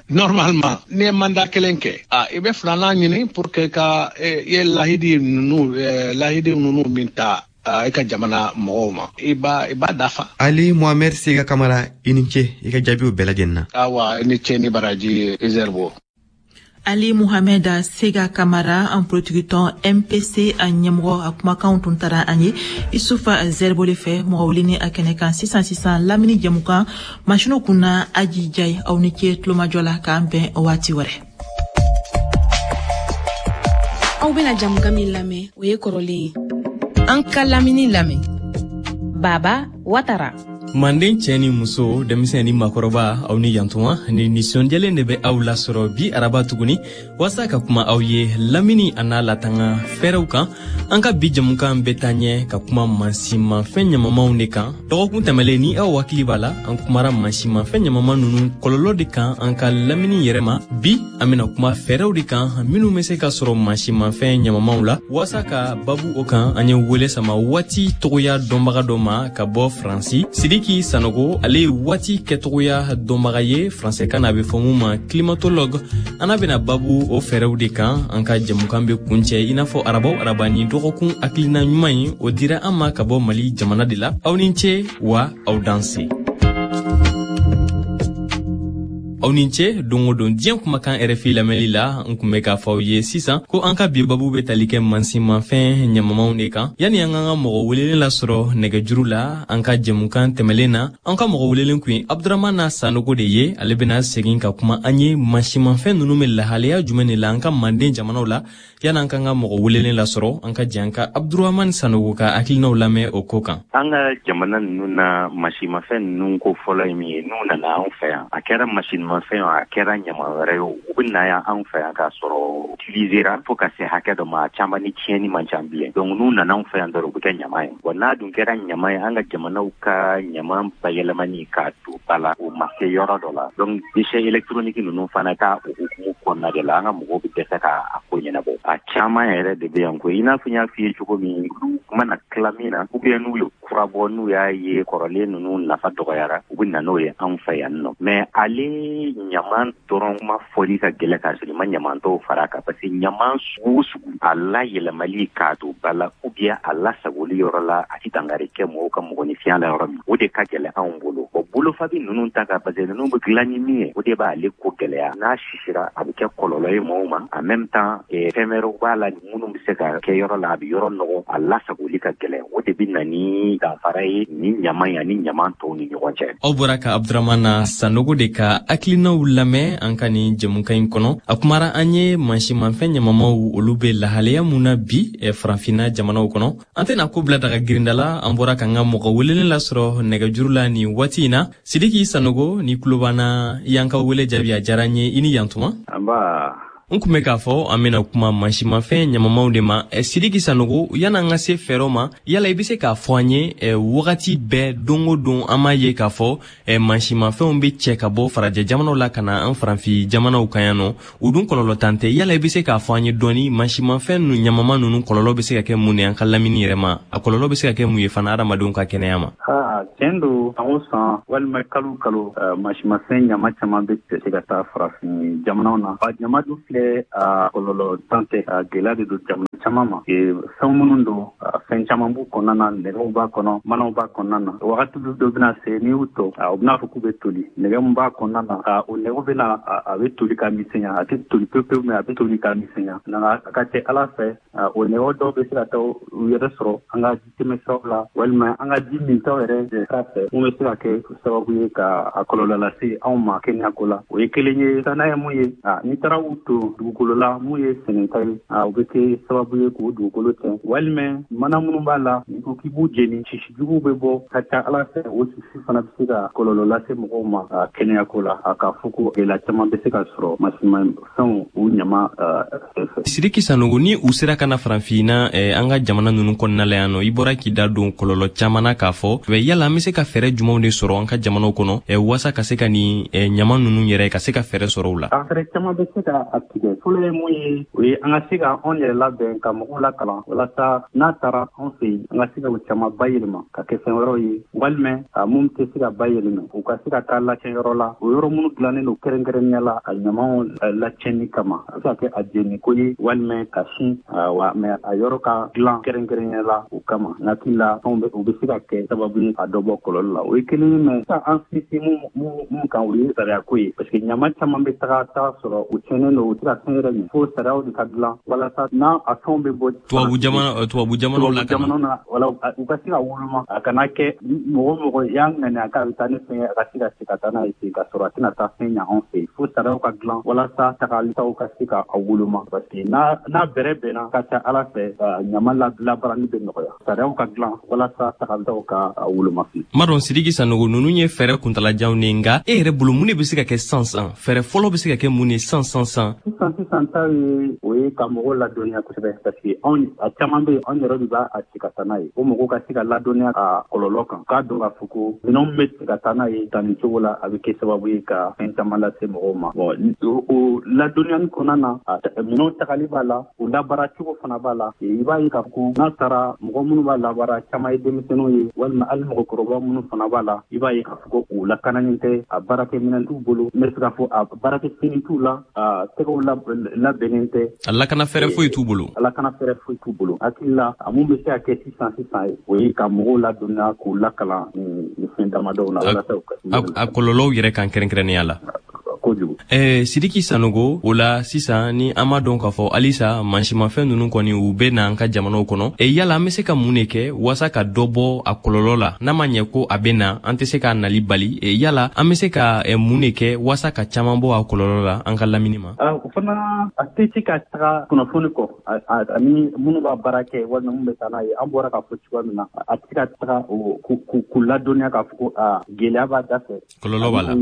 normalement n'i ye mandat kelen kɛ, a i bɛ filanan ɲini pour que ka i ye lahidi ninnu lahidi ninnu min ta i ka jamana mɔgɔw ma, i b'a i b'a dafa. Ali Mohamed Sega Kamara, i ni ce i ka jaabiw bɛɛ lajɛlen na. Awa, i ni ce ni baraji Izerbo. Ali Mohamed Sega Kamara, an politikitɔn M P C a ɲɛmɔgɔ, a kumakanw tun taara an ye Isufa Zerbo le fɛ mɔgɔ wele a kɛnɛ kan sisan sisan lamini jɛmukan masiniw kunna Aji Jayi. Aw ni ce tulomajɔ la, k'an bɛn waati wɛrɛ. Aw bɛna jamukan min lamɛn, o ye kɔrɔlen ye. An ka lamini lamɛn. Baba Watara. Manden cɛ ni muso, denmisɛn ni makɔrɔba, aw ni yantuma ni nisɔndiyalen de bɛ aw lasɔrɔ bi araba tuguni waasa ka kuma aw ye lamini a n'a latanga fɛɛrɛw kan. An ka bi jamukan bɛ taa ɲɛ ka kuma mansinmafɛn ɲamamanw de kan. Dɔgɔkun tɛmɛlen, ni aw hakili b'a la, an kumara mansinmafɛn ɲamaman ninnu kɔlɔlɔ de kan an ka lamini yɛrɛ ma. Bi an bɛna kuma fɛɛrɛw de kan minnu bɛ se ka sɔrɔ mansinmafɛn ɲamamanw la. Waasa ka babu o kan, an ye wele sama waati togoya dɔnbaga dɔ ma ka bɔ Faransi, Sidiki Sanogo. Ale ye waati kɛtogoya dɔnbaga ye, faransɛkan na a bɛ fɔ mun ma climatologue. An n'a bɛna babu o fɛɛrɛw de kan. An ka jɛmukan bɛ kuncɛ i n'a fɔ araba o araba ni dɔgɔkun hakilina ɲuman ye, o dira an ma ka bɔ Mali jamana de la. Aw ni ce wa aw danse. Aw ni ce don o don diɲɛ kumakan R F I lamɛnli la. N kun bɛ k'a fɔ aw ye sisan ko an ka bi babu bɛ tali kɛ mansinmafɛn ɲamamanw de kan. Yanni an k'an ka mɔgɔ welelen lasɔrɔ nɛgɛjuru la, an ka jɛmukan tɛmɛlen na, an ka mɔgɔ welelen kun ye Abdramana Sanogo de ye. Ale bɛna segin ka kuma an ye mansinmafɛn ninnu bɛ lahalaya jumɛn de la an ka manden jamanaw la. Yanni an k'an ka mɔgɔ welelen lasɔrɔ, an ka jɛ an ka Abdramane Sanogo ka hakilinaw lamɛn o ko kan. An ka jamana ninnu na, mansinmafɛn ninnu ko fɔlɔ ye min ye, n'u nana anw fɛ yan, a kɛra mansinmafɛn a kɛra ɲama wɛrɛ ye, u bɛ na yan anw fɛ yan k'a sɔrɔ utilisera fo ka se hakɛ dɔ ma, a caman ni tiɲɛni man ca bilen. Donc n'u nana anw fɛ yan dɔrɔn, u bɛ kɛ ɲama ye. Wa n'a dun kɛra ɲama ye, an ka jamanaw ka ɲama bayɛlɛmani k'a don ba la, o ma se yɔrɔ dɔ la. Donc déchets électroniques ninnu fana ka o hukumu kɔnɔna de la, an ka mɔgɔw bɛ dɛsɛ k'a ko ɲɛnabɔ. A caman yɛrɛ de bɛ yan ko i n'a fɔ n y'a f'i ye cogo min, olu mana tila min na, ou bien n'u ye kura bɔ n'u y'a ye kɔrɔlen ninnu nafa dɔgɔyara, u bɛ na n'o ye anw fɛ yan nɔ. Mais ale ɲaman dɔrɔn ma fɔli ka gɛlɛn k'a sɔrɔ i ma ɲaman tɔw fara a kan, parce que ɲaman sugu o sugu a layɛlɛmali k'a don ba la ou bien a lasagoli yɔrɔ la, a ti dankari kɛ mɔgɔw ka mɔgɔninfinya la yɔrɔ min, o de ka gɛlɛn anw bolo. Bon, bolofabi ninnu ta kan, parce que ninnu bɛ dilan ni min ye, o de b'ale ko gɛlɛya. N'a sisira, a bɛ kɛ kɔlɔlɔ ye mɔgɔw ma. En même temps, fɛn wɛrɛw b'a la minnu bɛ se ka kɛ yɔrɔ la, a bɛ yɔrɔ nɔgɔ, a lasagoli ka gɛlɛn. O de bɛ na ni danfara ye ni ɲaman ye ani ɲaman tɔw ni ɲɔgɔn cɛ. Aw bɔra ka Abdramana Sanogo de ka hakilinaw lamɛn an ka nin jɛmukan in kɔnɔ. A kumara an ye mansimafɛn ɲamamaw, olu bɛ lahalaya mun na bi farafinna jamanaw kɔnɔ. An tɛna ko bila daga girinda la. An bɔra k'an ka mɔgɔ welelen lasɔrɔ nɛgɛjuru la nin waati in na. Sidiki Sanogo, ni tulo b'an na, i y'an ka wele jaabi, a diyara n ye. I ni yantuma. Nba. N kun bɛ k'a fɔ an bɛna kuma mansimafɛn ɲamamaw de ma. Sidiki Sanogo, yan'an ka se fɛɛrɛw ma, yala i bɛ se k'a fɔ an ye, wagati bɛɛ, don o don, an m'a ye k'a fɔ mansimafɛnw bɛ cɛ ka bɔ farajɛ jamanaw la ka na an farafin jamanaw kan yan nɔ, u dun kɔlɔlɔ tan tɛ. Yala i bɛ se k'a fɔ an ye dɔɔni, mansimafɛn ninnu ɲamama ninnu kɔlɔlɔ bɛ se ka kɛ mun ye an ka lamini yɛrɛ ma? A kɔlɔlɔ bɛ se ka kɛ mun ye fana adamadenw ka kɛnɛya ma? Aa, tiɲɛ don, san o san walima kalo kalo, mansimafɛn ɲama caman bɛ cɛ ka taa farafin jamanaw na. A ɲama dun filɛ, a kɔlɔlɔ tan tɛ, a gɛlɛya de don jamana caman ma. Fɛn minnu don, fɛn caman b'u kɔnɔna na, nɛgɛw b'a kɔnɔ, manaw b'a kɔnɔna na. Wagati dɔ bɛna se, n'i y'u tɔ, u bɛna fɔ k'u bɛ toli. Nɛgɛ min b'a kɔnɔna na, o nɛgɛw bɛna, a bɛ toli ka misɛnya. A tɛ toli pewu pewu, mais a bɛ toli ka misɛnya. Nka a ka ca Ala fɛ, o nɛgɛw dɔw bɛ se ka taa u yɛrɛ sɔrɔ an ka ji tɛmɛsiraw la walima an ka ji mintaw yɛrɛ sira fɛ, mun bɛ se ka kɛ sababu ye ka a kɔlɔlɔ lase anw ma kɛnɛyako la. O ye kelen ye. Sabanan ye mun ye? N'i taara u to dugukolo la, mun ye sɛnɛta ye, o bɛ kɛ sababu ye k'o dugukolo tiɲɛ. Walima mana minnu b'a la, n'i ko k'i b'u jeni, sisi juguw bɛ bɔ ka ca Ala fɛ, o sisi fana bɛ se ka kɔlɔlɔ lase mɔgɔw ma kɛnɛyako la. A k'a fɔ ko gɛlɛya caman bɛ se ka sɔrɔ mansimafɛnw u ɲama fɛ. Sidiki Sanogo, ni u sera ka na farafinna an ka jamana ninnu kɔnɔna la yan nɔ, i bɔra k'i da don kɔlɔlɔ caman na k'a fɔ, yala an bɛ se ka fɛɛrɛ jumɛnw de sɔrɔ an ka jamanaw kɔnɔ waasa ka se ka nin ɲama ninnu yɛrɛ ka se ka fɛɛrɛ sɔrɔ u la? A fɛɛrɛ caman bɛ se ka a tigɛ. Fɔlɔ ye mun ye? O ye an ka se ka anw yɛrɛ labɛn ka mɔgɔw lakalan, walasa n'a taara anw fɛ yen, an ka se ka o caman bayɛlɛma ka kɛ fɛn wɛrɛw ye, walima a mun tɛ se ka bayɛlɛma, u ka se ka taa lacɛnyɔrɔ la, o yɔrɔ minnu dilannen don kɛrɛnkɛrɛnnenya la a ɲamaw lacɛnni kama. A bɛ se ka kɛ a jeniko ye walima ka sin wa, mais a yɔrɔ ka dilan kɛrɛnkɛrɛnnenya la o kama. N hakili la, fɛnw bɛ o bɛ se ka kɛ sababu ye ka dɔ bɔ kɔlɔlɔ la. O ye kelen ye. Mais sisan, an sinsin mun mun kan, o ye sariyako ye, parce que ɲama caman bɛ taga taa sɔrɔ u tiɲɛnen don, u tɛ ka fɛn yɛrɛ ɲɛ, fo sariyaw de ka dilan walasa n'a a fɛnw bɛ bɔ tubabu jamana tubabu jamanaw la, jamanaw na, wala u ka se ka woloma, a kana kɛ mɔgɔ mɔgɔ y'a ŋaniya k'a bɛ taa ni fɛn ye, a ka se ka se ka taa n'a ye ten ka sɔrɔ a tɛna taa fɛn ɲɛ anw fɛ yen. Fo sariyaw ka dilan walasa tagalitaw ka se ka a woloma, parce que n'a n'a bɛrɛ bɛnna, ka ca Ala fɛ, ɲama labaarali bɛ nɔgɔya. Sariyaw ka dilan walasa tagalitaw ka a woloma. Madɔn Sidiki Sanogo, ninnu ye fɛɛrɛ kuntalajanw de, nka e yɛrɛ bolo, mun de bɛ se ka kɛ san san? Fɛɛrɛ fɔlɔ bɛ se ka kɛ mun ye san san san? Sisan sisan ta ye, o ye ka mɔgɔw ladɔnniya kosɛbɛ, parce que anw a caman bɛ yen, anw yɛrɛ de b'a a ci ka taa n'a ye. O mɔgɔw ka se ka ladɔnniya a kɔlɔlɔ kan, k'a dɔn k'a fɔ ko minɛnw bɛ ci ka taa n'a ye tan nin cogo la, a bɛ kɛ sababu ye ka fɛn caman lase mɔgɔw ma. Bon, o ladɔnniyani kɔnɔna na, minɛnw tagali b'a la, o labaara cogo fana b'a la. I b'a ye k'a fɔ ko n'a taara, mɔgɔ minnu b'a labaara caman ye denmisɛnninw ye, walima hali mɔgɔkɔrɔba minnu fana b'a la, i b'a ye k'a fɔ ko u lakananen tɛ, a baarakɛminɛn t'u bolo, n bɛ se k'a fɔ a baarakɛfini t'u la, a tɛgɛw labɛnnen tɛ. A lakana fɛɛrɛ foyi t'u bolo. A lakana fɛɛrɛ foyi t'u bolo. Hakili la, a mun bɛ se ka kɛ sisan sisan ye, o ye ka mɔgɔw ladɔnniya, k'u lakalan nin fɛn damadɔw na, walasa u ka a kɔlɔlɔw yɛrɛ kan kɛrɛnkɛrɛnnenya la. Kojugu. Eh, Sidiki Sanogo, o la sisan ni an m'a dɔn k'a fɔ halisa mansimafɛn ninnu kɔni u bɛ na an ka jamanaw kɔnɔ, e yala an bɛ se ka mun de kɛ waasa ka dɔ bɔ a kɔlɔlɔ la? N'a ma ɲɛ ko a bɛ na, an tɛ se k'a nali bali. E yala an bɛ se ka mun de kɛ waasa ka caman bɔ a kɔlɔlɔ la an ka lamini ma? O fana, a tɛ se ka taga kunnafoni kɔ ani minnu b'a baara kɛ walima minnu bɛ taa n'a ye. An bɔra k'a fɔ cogoya min na, a tɛ se ka taga k'u ladɔnniya k'a fɔ ko a gɛlɛya b'a da fɛ, kɔlɔlɔ b'a la,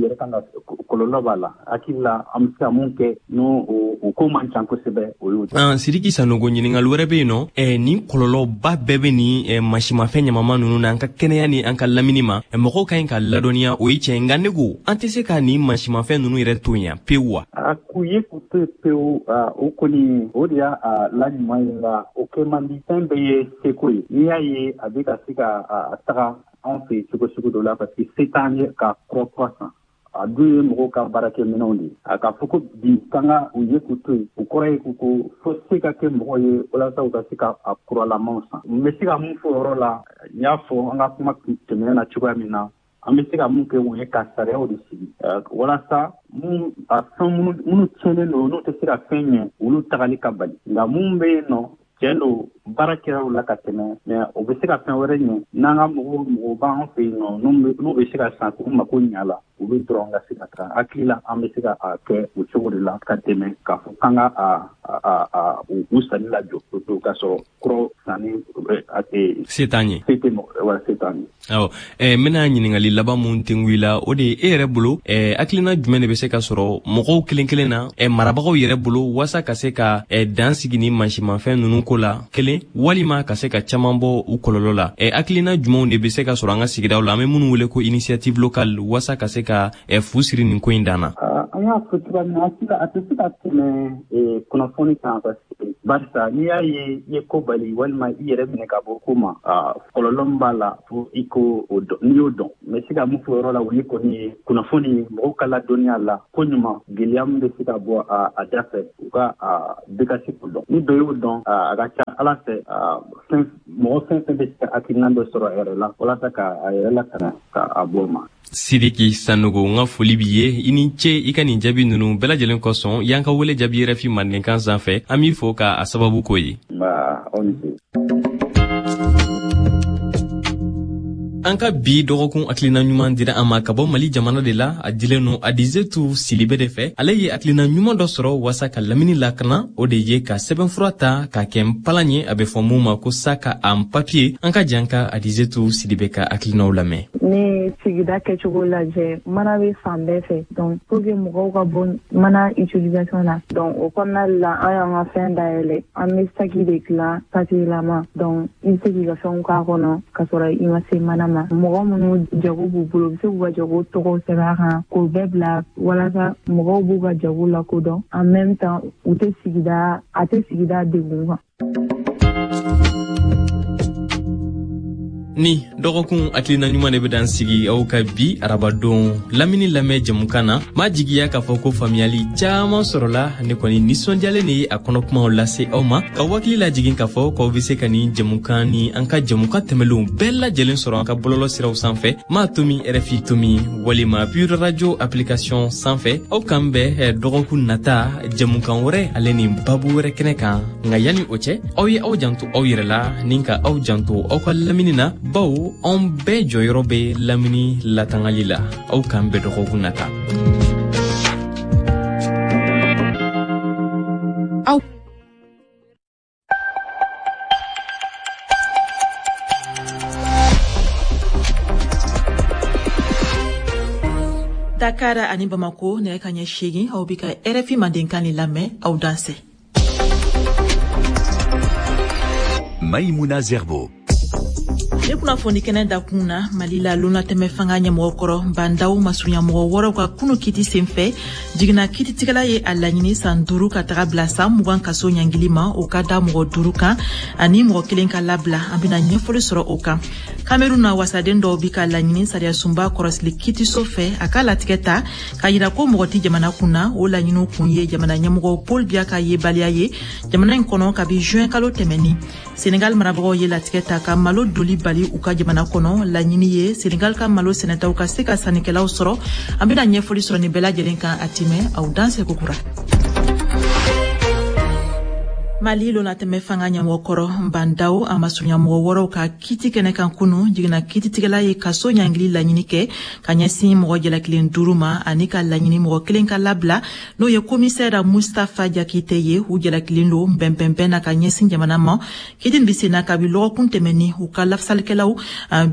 kɔlɔlɔ b'a la. Hakili la an bɛ se ka mun kɛ n'o o ko man ca kosɛbɛ, o y'o. Sidiki Sanogo, ɲininkali wɛrɛ bɛ yen nɔ. eh, nin kɔlɔlɔba bɛɛ bɛ nin eh, masimafɛn ɲamama ninnu na an ka kɛnɛya ni an ka lamini ma. eh, mɔgɔw ka ɲi ka ladɔnniya, o ye tiɲɛ, nka ne ko an tɛ se ka nin masimafɛn ninnu yɛrɛ to yan pewu wa? A k'u ye k'u to yen pewu, o kɔni o de y'a la ɲuman ye, nka o kɛ man di. Fɛn bɛɛ ye seko ye. N'i y'a ye a bɛ ka se ka a taga anw fɛ yen cogo sugu dɔ la, parce que se t'an ye ka kura kura san. A dun ye mɔgɔw ka baarakɛminɛnw de ye. A ka fɔ ko bi k'an ka u ye k'u to yen, o kɔrɔ ye ko ko fo se ka kɛ mɔgɔw ye walasa u ka se ka a kuralamaw san. N bɛ se ka mun fɔ o yɔrɔ la, n y'a fɔ an ka kuma tɛmɛnen na cogoya min na, an bɛ se ka mun kɛ, o ye ka sariyaw de sigi walasa mun a fɛn minnu tiɲɛnen don, n'u tɛ se ka fɛn ɲɛ, olu tagali ka bali. Nka mun bɛ yen nɔ, tiɲɛ don, baara kɛra o la ka tɛmɛ, mais o bɛ se ka fɛn wɛrɛ ɲɛ. N'an ka mɔgɔw mɔgɔw b'an fɛ yen nɔ, n'u bɛ se ka san k'u mako ɲɛ a la, olu dɔrɔn ka se ka taa. Hakili la an bɛ se ka a kɛ o cogo de la ka tɛmɛ k'a fɔ k'an ka a a a u sanni lajɔ pewu, k'a sɔrɔ kuraw sanni a tɛ se t'an ye. Se tɛ mɔgɔ wa, se t'an ye. Awɔ, n bɛna ɲininkali laban mun tengu i la, o de ye e yɛrɛ bolo, hakilina jumɛn de bɛ se ka sɔrɔ mɔgɔw kelen kelen na, marabagaw yɛrɛ bolo, walasa ka se ka dan sigi ni mansimafɛn ninnu ko la kelen, walima ka se ka caman bɔ u kɔlɔlɔ la? Hakilina jumɛnw de bɛ se ka sɔrɔ an ka sigidaw la, an bɛ minnu wele ko initiative locale, walasa ka se ka fu siri nin ko in dan na? An y'a fɔ cogoya min na, a tɛ se ka tɛmɛ kunnafoni kan, parce que barisa n'i y'a ye i ye ko bali walima i yɛrɛ minɛ ka bɔ ko ma, kɔlɔlɔ min b'a la, fo i ko o dɔn. N'i y'o dɔn, n bɛ se ka mun fɔ o yɔrɔ la, o ye kɔni ye kunnafoni, mɔgɔw ka ladɔnniya la ko ɲuman, gɛlɛya min bɛ se ka bɔ a da fɛ, u ka bɛɛ ka se k'o dɔn. Ni dɔ y'o dɔn, a ka ca Ala fɛ, fɛn mɔgɔ fɛn fɛn bɛ se ka hakilina dɔ sɔrɔ a yɛrɛ la walasa ka a yɛrɛ lakana ka a bɔ o ma. Sidiki Sanogo, n ka foli b'i ye, i ni ce i ka nin jaabi ninnu bɛɛ lajɛlen kosɔn. Y'an ka wele jaabi R F I mandenkan sanfɛ, an b'i fo k'a sababu k'o ye. Nba, aw ni ce. An ka bi dɔgɔkun hakilina ɲuman dira an ma ka bɔ Mali jamana de la. A dilen no Adizetu Silibe de fɛ. Ale ye hakilina ɲuman dɔ sɔrɔ waasa ka lamini lakana, o de ye ka sɛbɛnfura ta k'a kɛ npalan ye, a bɛ fɔ mun ma ko sac en papier. An ka jan ka Adizetu Silibe ka hakilinaw lamɛn. Ne sigida kɛcogo lajɛ, mana bɛ fan bɛɛ fɛ, donc pour que mɔgɔw ka bɔ mana utilisation na. Donc o kɔnɔna la, an y'an ka fɛn dayɛlɛ, an bɛ saki de dilan papier lama. Donc i bɛ se k'i ka fɛnw k'a kɔnɔ ka sɔrɔ i ma se mana ma. Mɔgɔ minnu jago b'u bolo, u bɛ se k'u ka jago tɔgɔw sɛbɛn a kan k'o bɛɛ bila walasa mɔgɔw b'u ka jago lakodɔn, en même temps u tɛ sigida a tɛ sigida degun kan. Ni dɔgɔkun hakilina ɲuman de bɛ dan sigi aw ka bi arabadon lamini lamɛn jɛmukan na. M'a jigiya k'a fɔ ko faamuyali caaman sɔrɔla. Ne kɔni nisɔndiyalen de ye a kɔnɔkumaw lase aw ma, ka wakili lajigin k'a fɔ k'aw be se ka nin jɛmukan ni an ka jɛmukan tɛmɛlenw bɛɛ lajɛlen sɔrɔ an ka bɔlɔlɔ siraw sanfɛ, m'a tomi R F I tomi walima Pure Radio application sanfɛ. Aw k'an bɛn dɔgɔkun nata jɛmukan wɛrɛ ale ni babu wɛrɛ kɛnɛ kan. Nka yanni o cɛ, aw ye aw janto aw yɛrɛ la ni ka aw janto aw ka lamini na, bawo anw bɛɛ jɔyɔrɔ bɛ lamini latangali la. Aw k'an bɛn dɔgɔkun nata. Aw Dakar ani Bamako, nɛgɛ ka ɲɛ seegin, aw bɛ ka R F I mandenkan de lamɛn. Aw dansɛ. Maïmouna Zerbo. Ne kunnafoni kɛnɛ dakun na, Mali la lonatɛmɛ fanga ɲɛmɔgɔ kɔrɔ Bandaw masurunyamɔgɔ wɔɔrɔw ka kunu kiti senfɛ, jiginna kititigɛla ye a laɲini san duuru ka taga bila san mugan kaso ɲangili ma, o ka da mɔgɔ duuru kan ani mɔgɔ kelen ka labila. An bɛna ɲɛfɔli sɔrɔ o kan. Kamerun na, wasaden dɔw bi ka laɲini sariyasunba kɔrɔsili kitiso fɛ a ka latigɛ ta k'a yira ko mɔgɔ tɛ jamana kun na. O laɲiniw kun ye jamana ɲɛmɔgɔ Paul Biya ka yebaliya ye jamana in kɔnɔ kabi juin kalo tɛmɛnin. Senegal marabagaw ye latigɛ ta ka malo doli bali u ka jamana kɔnɔ. Laɲini ye Senegal ka malo sɛnɛtaw ka se ka sannikɛlaw sɔrɔ. An bɛna ɲɛfɔli sɔrɔ nin bɛɛ lajɛlen kan a timɛ. Aw danse kokura. Mali lonatɛmɛ fanga ɲɛmɔgɔ kɔrɔ Bah N'Daw a masurunya mɔgɔ wɔɔrɔw ka kiti kɛnɛ kan kunu, jiginna kititigɛla ye kaso ɲangili laɲini kɛ ka ɲɛsin mɔgɔ jalakilen duuru ma ani ka laɲini mɔgɔ kelen ka labila, n'o ye commissaire Mustapha Diakité ye. U jalakilen don bɛnbɛnbɛn na ka ɲɛsin jamana ma. Kiti nin bɛ sen na kabi lɔgɔkun tɛmɛni u ka lafasalikɛlaw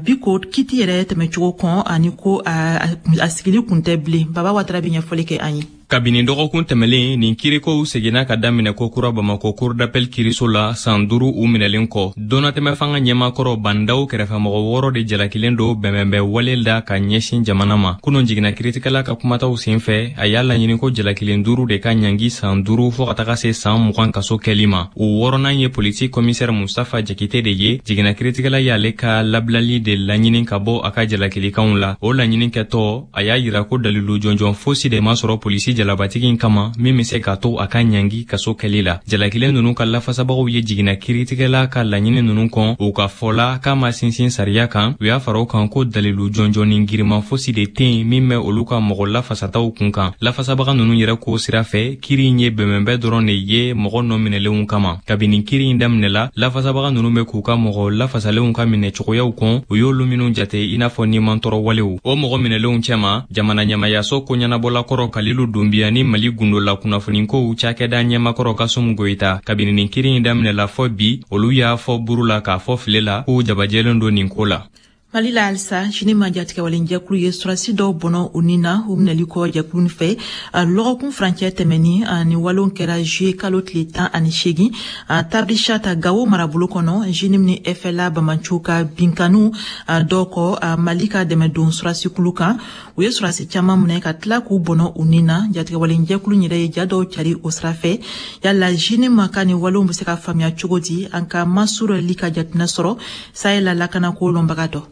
bi ko kiti yɛrɛ tɛmɛcogo kɔn ani ko a sigili kun tɛ bilen. Baba Watara bɛ ɲɛfɔli kɛ an ye. Kabini dɔgɔkun tɛmɛlen, nin kirikow seginna ka daminɛ kokura Bamakɔ cour d'appel kiriso la san duuru u minɛlen kɔ. Donnatɛmɛ fanga ɲɛmakɔrɔ Bah N'Daw kɛrɛfɛmɔgɔ wɔɔrɔ de jalakilen don bɛnbɛnbɛn wale da ka ɲɛsin jamana ma. Kunun jiginna kiritigɛla ka kumataw sen fɛ, a y'a laɲini ko jalakilen duuru de ka ɲangi san duuru fɔɔ ka taga se san mugan kaso kɛli ma. O wɔɔrɔnan ye polisi commissaire Mustapha Diakité de ye. Jiginna kiritigɛla y'ale ka labilali de laɲini ka bɔ a ka jalakilikanw la. O laɲini kɛtɔ, a y'a yira ko dalilu jɔnjɔn fosi de ma sɔrɔ polisi jalabatigi in kama min bɛ se k'a to a ka ɲangi kaso kɛli la. Jalakilen ninnu ka lafasabagaw ye jiginna kiritigɛla ka laɲini ninnu kɔn. U ka fɔ la k'a ma sinsin sariya kan. U y'a fara o kan ko dalilu jɔnjɔn giriman fosi de tɛ yen min bɛ olu ka mɔgɔ lafasataw kun kan. Lafasabaga ninnu yɛrɛ ko sira fɛ, kiri in ye bɛnbɛnbɛn dɔrɔn de ye mɔgɔ nɔ minɛlenw kama. Kabini kiri in daminɛla, lafasabaga ninnu bɛ k'u ka mɔgɔ lafasalenw ka minɛ cogoyaw kɔn, u y'olu minnu jate i n'a fɔ nimantɔrɔ walew. O mɔgɔ minɛlenw cɛma, jamana ɲɛmayaso koɲɛnabɔla kɔrɔ Kalilu Dunbiya ni Mali gundola kunnafonikow cakɛda ɲɛmakɔrɔ Kasum Goyita, kabini nin kiri in daminɛla fɔ bi, olu y'a fɔ buru la k'a fɔ file la k'u jabajɛlen don nin ko la. Mali la halisa, JNIM jatigɛwalenjɛkulu ye surasi dɔw bɔnɔ u ni na u minɛli kɔ jɛkulu fɛ lɔgɔkun furancɛ tɛmɛni. Ni walon kɛra juillet kalo tile tan ani seegin Tabrichat Gawo marabolo kɔnɔ, JNIM ni F L A bamanciw ka binkaniw dɔw kɔ Mali ka dɛmɛdon surasikulu kan. U ye surasi caman minɛ ka tila k'u bɔnɔ u ni na. Jatigɛwalenjɛkulu yɛrɛ ye ja dɔw cari o sira fɛ. Yala JNIM ka nin walew bɛ se ka faamuya cogo di? An ka Masur Li ka jateminɛ sɔrɔ Sahel lakanako lɔnbaga dɔ.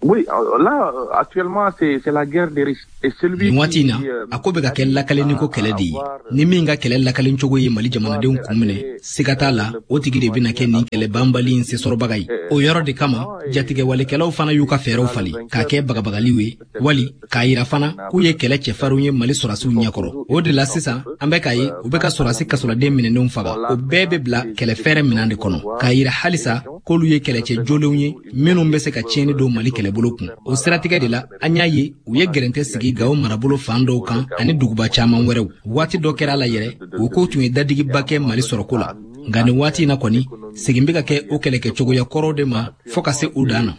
Oui, là, actuellement, c'est la guerre des risques. Et celui Nin waati in na, a ko bɛ ka kɛ lakalenni ko kɛlɛ de ye. Ni min ka kɛlɛ lakalen cogo ye Mali jamanadenw kun minɛ, siga t'a la, o tigi de bɛna kɛ nin kɛlɛ banbali in sesɔrɔbaga ye. O yɔrɔ de kama, jatigɛwalekɛlaw fana y'u ka fɛɛrɛw falen k'a kɛ bagabagaliw ye, wali k'a yira fana k'u ye kɛlɛ cɛfarinw ye Mali sɔrɔdasiw ɲɛkɔrɔ. O de la sisan, an bɛ k'a ye u bɛ ka sɔrɔdasi kasoladen minɛnenw faga. O bɛɛ bɛ bila kɛlɛ fɛɛrɛ minɛn de kɔnɔ, k'a yira halisa k'olu ye kɛlɛcɛ jolenw ye minnu bɛ se ka tiɲɛni don Mali kɛlɛbolo kun. O siratigɛ de la, an y'a ye u ye gɛrɛntɛ sigi Gawo marabolo fan dɔw kan ani duguba caman wɛrɛw. Waati dɔ kɛra a la yɛrɛ, o ko tun ye dadigiba kɛ Mali sɔrɔko la. Nka nin waati in na kɔni, segin bɛ ka kɛ o kɛlɛkɛcogoya kɔrɔw de ma fɔɔ ka se u dan na.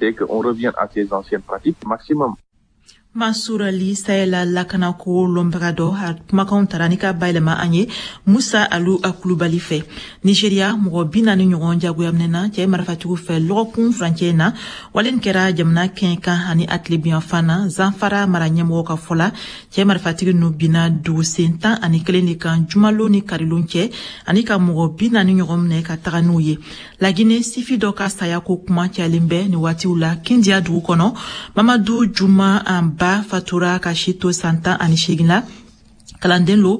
Mansour Ali, Sahel lakanako lɔnbaga dɔ, a kumakanw tara ni ka bayɛlɛma an ye Musa Alu Kulubali fɛ. Nigeria, mɔgɔ bi naani ɲɔgɔn jagoya minɛna cɛ marifatigiw fɛ lɔgɔkun furancɛ na. Wale kɛra jamana kɛɲɛ kan ani a tilebiyanfan na. Zanfara mara ɲɛmɔgɔ ka fɔ la, cɛ marifatigi ninnu binna dugusen tan ani kelen de kan jumalon ni karilon cɛ ani ka mɔgɔ bi naani ɲɔgɔn minɛ ka taga n'u ye. Lagine, sifi dɔ ka saya ko kuma cayalen bɛ nin waatiw la Kindiya dugu kɔnɔ. Mamadu Juma an ba fatura ka si to san tan ani seegin la. Kalanden lo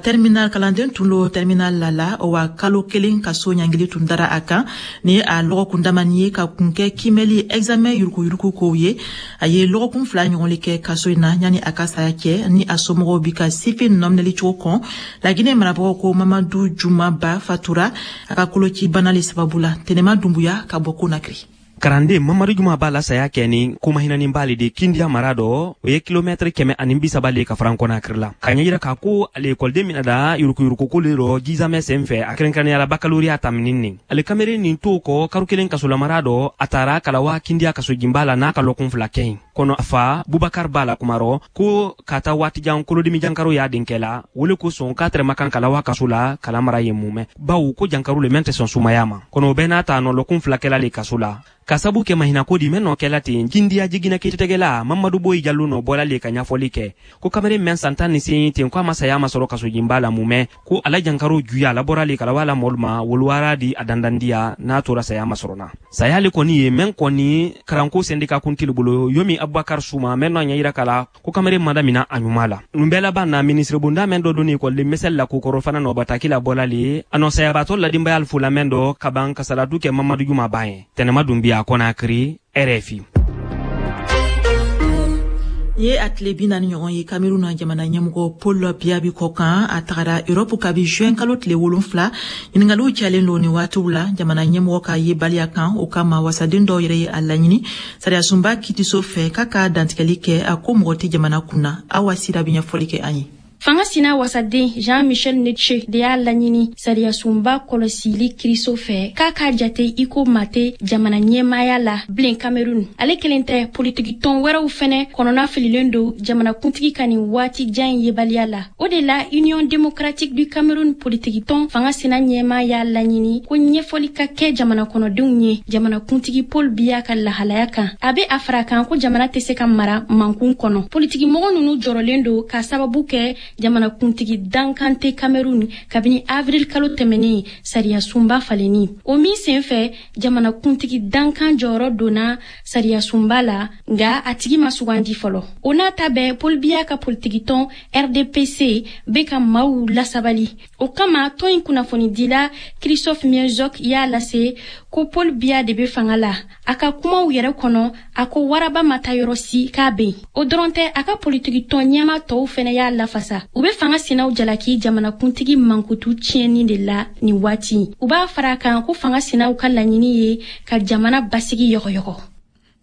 terminal, kalanden tun lo terminal la la wa kalo kelen kaso ɲangili tun dara a kan ni a lɔgɔkun damani ye ka kun kɛ kimɛli examen yurukuyuruku kow ye. A ye lɔgɔkun fila ɲɔgɔn le kɛ kaso in na yanni a ka saya cɛ, ni a somɔgɔw bi ka sifin nɔminɛli cogo kɔn. Laginɛ marabagaw ko Mamadu Juma Ba fatura a ka koloci bana le sababu la. Tɛnɛma Dunbuya ka bɔ Konakiri. Karanden Mamadu Juma b'a la saya kɛ ni komahinanin b'ale de Kindiya mara dɔ, o ye kilomɛtiri kɛmɛ ani bi saba le ka faran Kɔnakiri la, ka ɲɛ yira k'a ko ale ekɔliden mina da yurukuyurukuko le rɔ jizamɛ sen fɛ, a kɛrɛnkɛrɛnnenya la bakaloriya taminin nin. Ale kameren nin to kɔ karo kelen kasolamara dɔ, a taara kalawa Kindiya kasojinba la n'a ka lɔkun fila kɛ yen kɔnɔ. A fa Bubakar b'a la kumarɔ ko ka taa waatijan kolodimi jankaro y'a denkɛ la wele ko sɔn k'a tɛrɛma kan kalawa kaso la kala mara ye mun mɛn, bawo ko jankaro le mɛn tɛ sɔn sumaya ma kɔnɔ. O bɛɛ n'a ta nɔ lɔkun fila kɛla le kaso la ka sabu kɛ mahinako di mɛn nɔ kɛla ten. Kindiya jiginna kiiritigɛla Mamadu Boyi Jalo nɔ bɔla le ka ɲɛfɔli kɛ ko kamalen mɛn san tan ni seegin ten ko a ma saya ma sɔrɔ kasojinba la mun mɛn, ko ala jankaro juya a labɔra le kalawa la mɔlu ma woluwara di a dandandiya n'a tora saya ma sɔrɔ na. Saya le kɔni ye mɛn kɔni karanko sɛndika kuntili bolo yomi Abubakar Suma mɛn nɔ ɲɛ yira kala ko kamalen mada mina a ɲuman la. Nin bɛɛ laban na, minisiri bonda mɛn dɔ donni ekɔliden misɛli la kokɔrɔ fana nɔ bataki la bɔla le a nɔ sayabatɔ ladinbaya fola mɛn dɔ ka ban kasaladu kɛ Mamadu Juma ban ye. Tɛnɛma Dunbiya, Konakiri, R F I. Ye a tile bi naani ɲɔgɔn ye Cameroun na jamana ɲɛmɔgɔ Paul Biya bi kɔ kan. A tagara Europe kabi juin kalo tile wolonfila. Ɲiningaliw cayalen don nin waatiw la jamana ɲɛmɔgɔ ka yebaliya kan. O kama wasaden dɔw yɛrɛ ye a laɲini sariyasunba kitiso fɛ k'a ka dantigɛli kɛ a ko mɔgɔ tɛ jamana kunna. Awa Sira bɛ ɲɛfɔli kɛ an ye. Fanga sina wasaden Jean-Michel Netche de y'a laɲini sariyasunba kɔlɔsili kiriso fɛ k'a k'a jate i ko maa tɛ jamana ɲɛmaaya la bilen Cameroun. Ale kelen tɛ, politikitɔn wɛrɛw fɛnɛ kɔnɔna fililen don jamanakuntigi ka nin waati jan in yebaliya la. O de la Union démocratique du Cameroun politikitɔn fanga sina ɲɛmaa y'a laɲini ko ɲɛfɔli ka kɛ jamana kɔnɔdenw ye jamanakuntigi Paul Biya ka lahalaya kan. A bɛ a fara kan ko jamana tɛ se ka mara mankun kɔnɔ. Politikimɔgɔ ninnu jɔrɔlen don k'a sababu kɛ jamanakuntigi dankan tɛ Cameroun kabini avril kalo tɛmɛnen sariyasunba falenni. O min senfɛ jamanakuntigi dankan jɔyɔrɔ donna sariyasunba la, nka a tigi ma sugandi fɔlɔ. O n'a ta bɛɛ, Paul Biya ka politikitɔn R D P C bɛ ka maaw lasabali. O kama tɔn in kunnafonidila Christophe Mienzok y'a lase ko Paul Biya de bɛ fanga la. A ka kumaw yɛrɛ kɔnɔ, a ko waraba ma taa yɔrɔ si k'a bɛ yen. O dɔrɔn tɛ, a ka politikitɔn ɲɛmaa tɔw fɛnɛ y'a lafasa. U bɛ fanga sinaw jalaki jamanakuntigi mankutu tiɲɛni de la nin waati. U b'a fara a kan ko fanga sinaw ka laɲini ye ka jamana basigi yɔgɔyɔgɔ.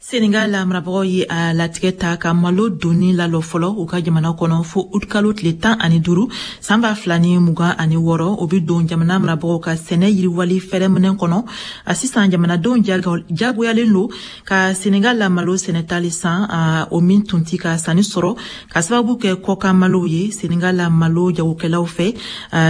Senegal la marabagaw ye a latigɛ ta ka malo donni lalɔ fɔlɔ u ka jamana kɔnɔ fo ut kalo tile tan ani duuru san ba fila ni mugan ani wɔɔrɔ. O bɛ don jamana marabagaw ka sɛnɛ yiriwali fɛɛrɛminɛ kɔnɔ. A sisan jamanadenw jagoyalen don ka Senegal la malo sɛnɛtali san, o min tun ti ka sanni sɔrɔ ka sababu kɛ kɔkan malow ye Senegal la malo jagokɛlaw fɛ.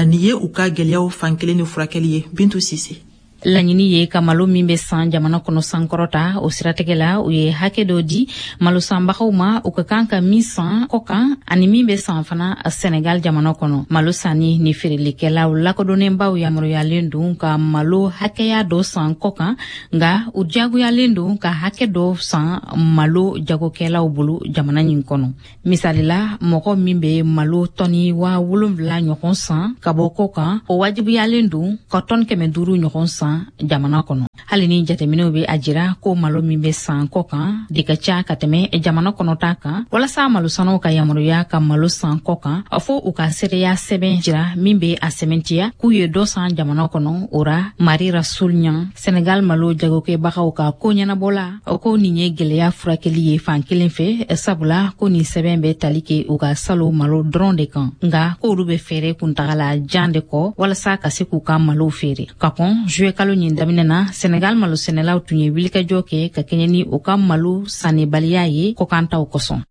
Nin ye u ka gɛlɛyaw fan kelen de furakɛli ye. Bintu Sise. Laɲini ye ka malo min bɛ san jamana kɔnɔ sankɔrɔta. O siratigɛ la, u ye hakɛ dɔ di malo sanbagaw ma u ka kan ka min san kɔkan ani min bɛ san fana Senegal jamana kɔnɔ. Malo sanni ni feerelikɛlaw lakodɔnnenbaw yamaruyalen don ka malo hakɛya dɔ san kɔkan, nka u diyagoyalen don ka hakɛ dɔ san malo jagokɛlaw bolo jamana nin kɔnɔ. Misali la, mɔgɔ min bɛ malo tɔni waa wolonwula ɲɔgɔn san ka bɔ kɔkan, o wajibiyalen don ka tɔni kɛmɛ duuru ɲɔgɔn san jamana kɔnɔ. Hali ni jateminɛw bɛ a jira ko malo min bɛ san kɔ kan de ka ca ka tɛmɛ jamana kɔnɔta kan, walasa malosanaw ka yamaruya ka malo san kɔ kan, fo u ka seereya sɛbɛn jira min bɛ a sɛmɛntiya k'u ye dɔ san jamana kɔnɔ. O ra Marie Rasoul Niang, Senegal malo jagokɛbagaw ka ko ɲɛnabɔla, o ko nin ye gɛlɛya furakɛli ye fan kelen fɛ, sabula ko nin sɛbɛn bɛ tali kɛ u ka salo malo dɔrɔn de kan, nka k'olu bɛ fɛɛrɛ kuntagala jan de kɔ walasa ka se k'u ka malow feere. Ka kɔn juillet kalo ɲin daminɛ na, Senegal malo sɛnɛlaw tun ye wulikajɔ kɛ ka kɛɲɛ ni u ka malo sannibaliya ye kɔkantaw kosɔn.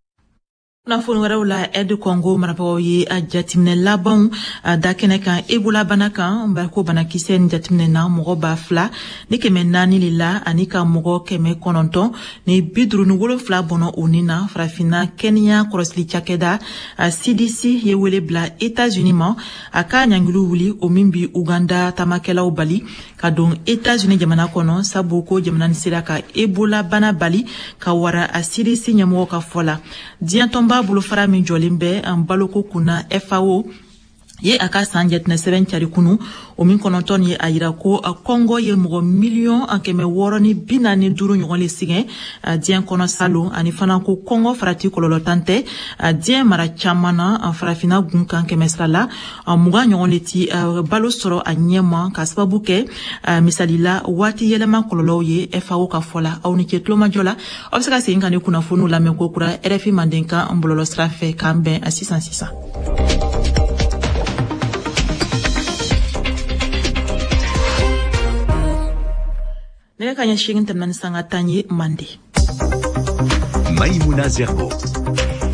Kunnafoni wɛrɛw la, R D Congo marabagaw ye a jateminɛ labanw da kɛnɛ kan Ebola bana kan. Ko banakisɛ nin jateminɛ na mɔgɔ ba fila ni kɛmɛ naani de la ani ka mɔgɔ kɛmɛ kɔnɔntɔn ni bi duuru ni wolonfila bɔnɔ o ni na. Farafinna kɛnɛya kɔlɔsili cakɛda C D C ye wele bila États-Unis ma a ka ɲangiliw wuli, o min bi Uganda taamakɛlaw bali ka don États-Unis jamana kɔnɔ, sabu ko jamana nin sera ka Ebola bana bali ka wara a C D C ɲɛmɔgɔ ka fɔ la. Diɲɛ tɔnba bolofara min jɔlen bɛ an baloko kunna F A O ye a ka san jateminɛ sɛbɛn cari kunu, o min kɔnɔntɔn ye a yira ko Kɔngɔ ye mɔgɔ miliyɔn kɛmɛ wɔɔrɔ ni bi naani duuru ɲɔgɔn le sɛgɛn diɲɛ kɔnɔ salon, ani fana ko kɔngɔ farati kɔlɔlɔ tan tɛ diɲɛ mara caman na. Farafinna gun kan kɛmɛ sira la mugan ɲɔgɔn le ti balo sɔrɔ a ɲɛma ka sababu kɛ misali la waati yɛlɛma kɔlɔlɔw ye F A O ka fɔ la. Aw ni ce tulomajɔ la, aw bɛ se ka segin ka ni kunnafoniw lamɛn ko kura R F I Mandenkan bɔlɔlɔ sira fɛ. K'an bɛn a sisan sisan. Nɛgɛ ka ɲɛ seegin tɛmɛna ni sanga tan ye Mande. Maïmouna Zerbo.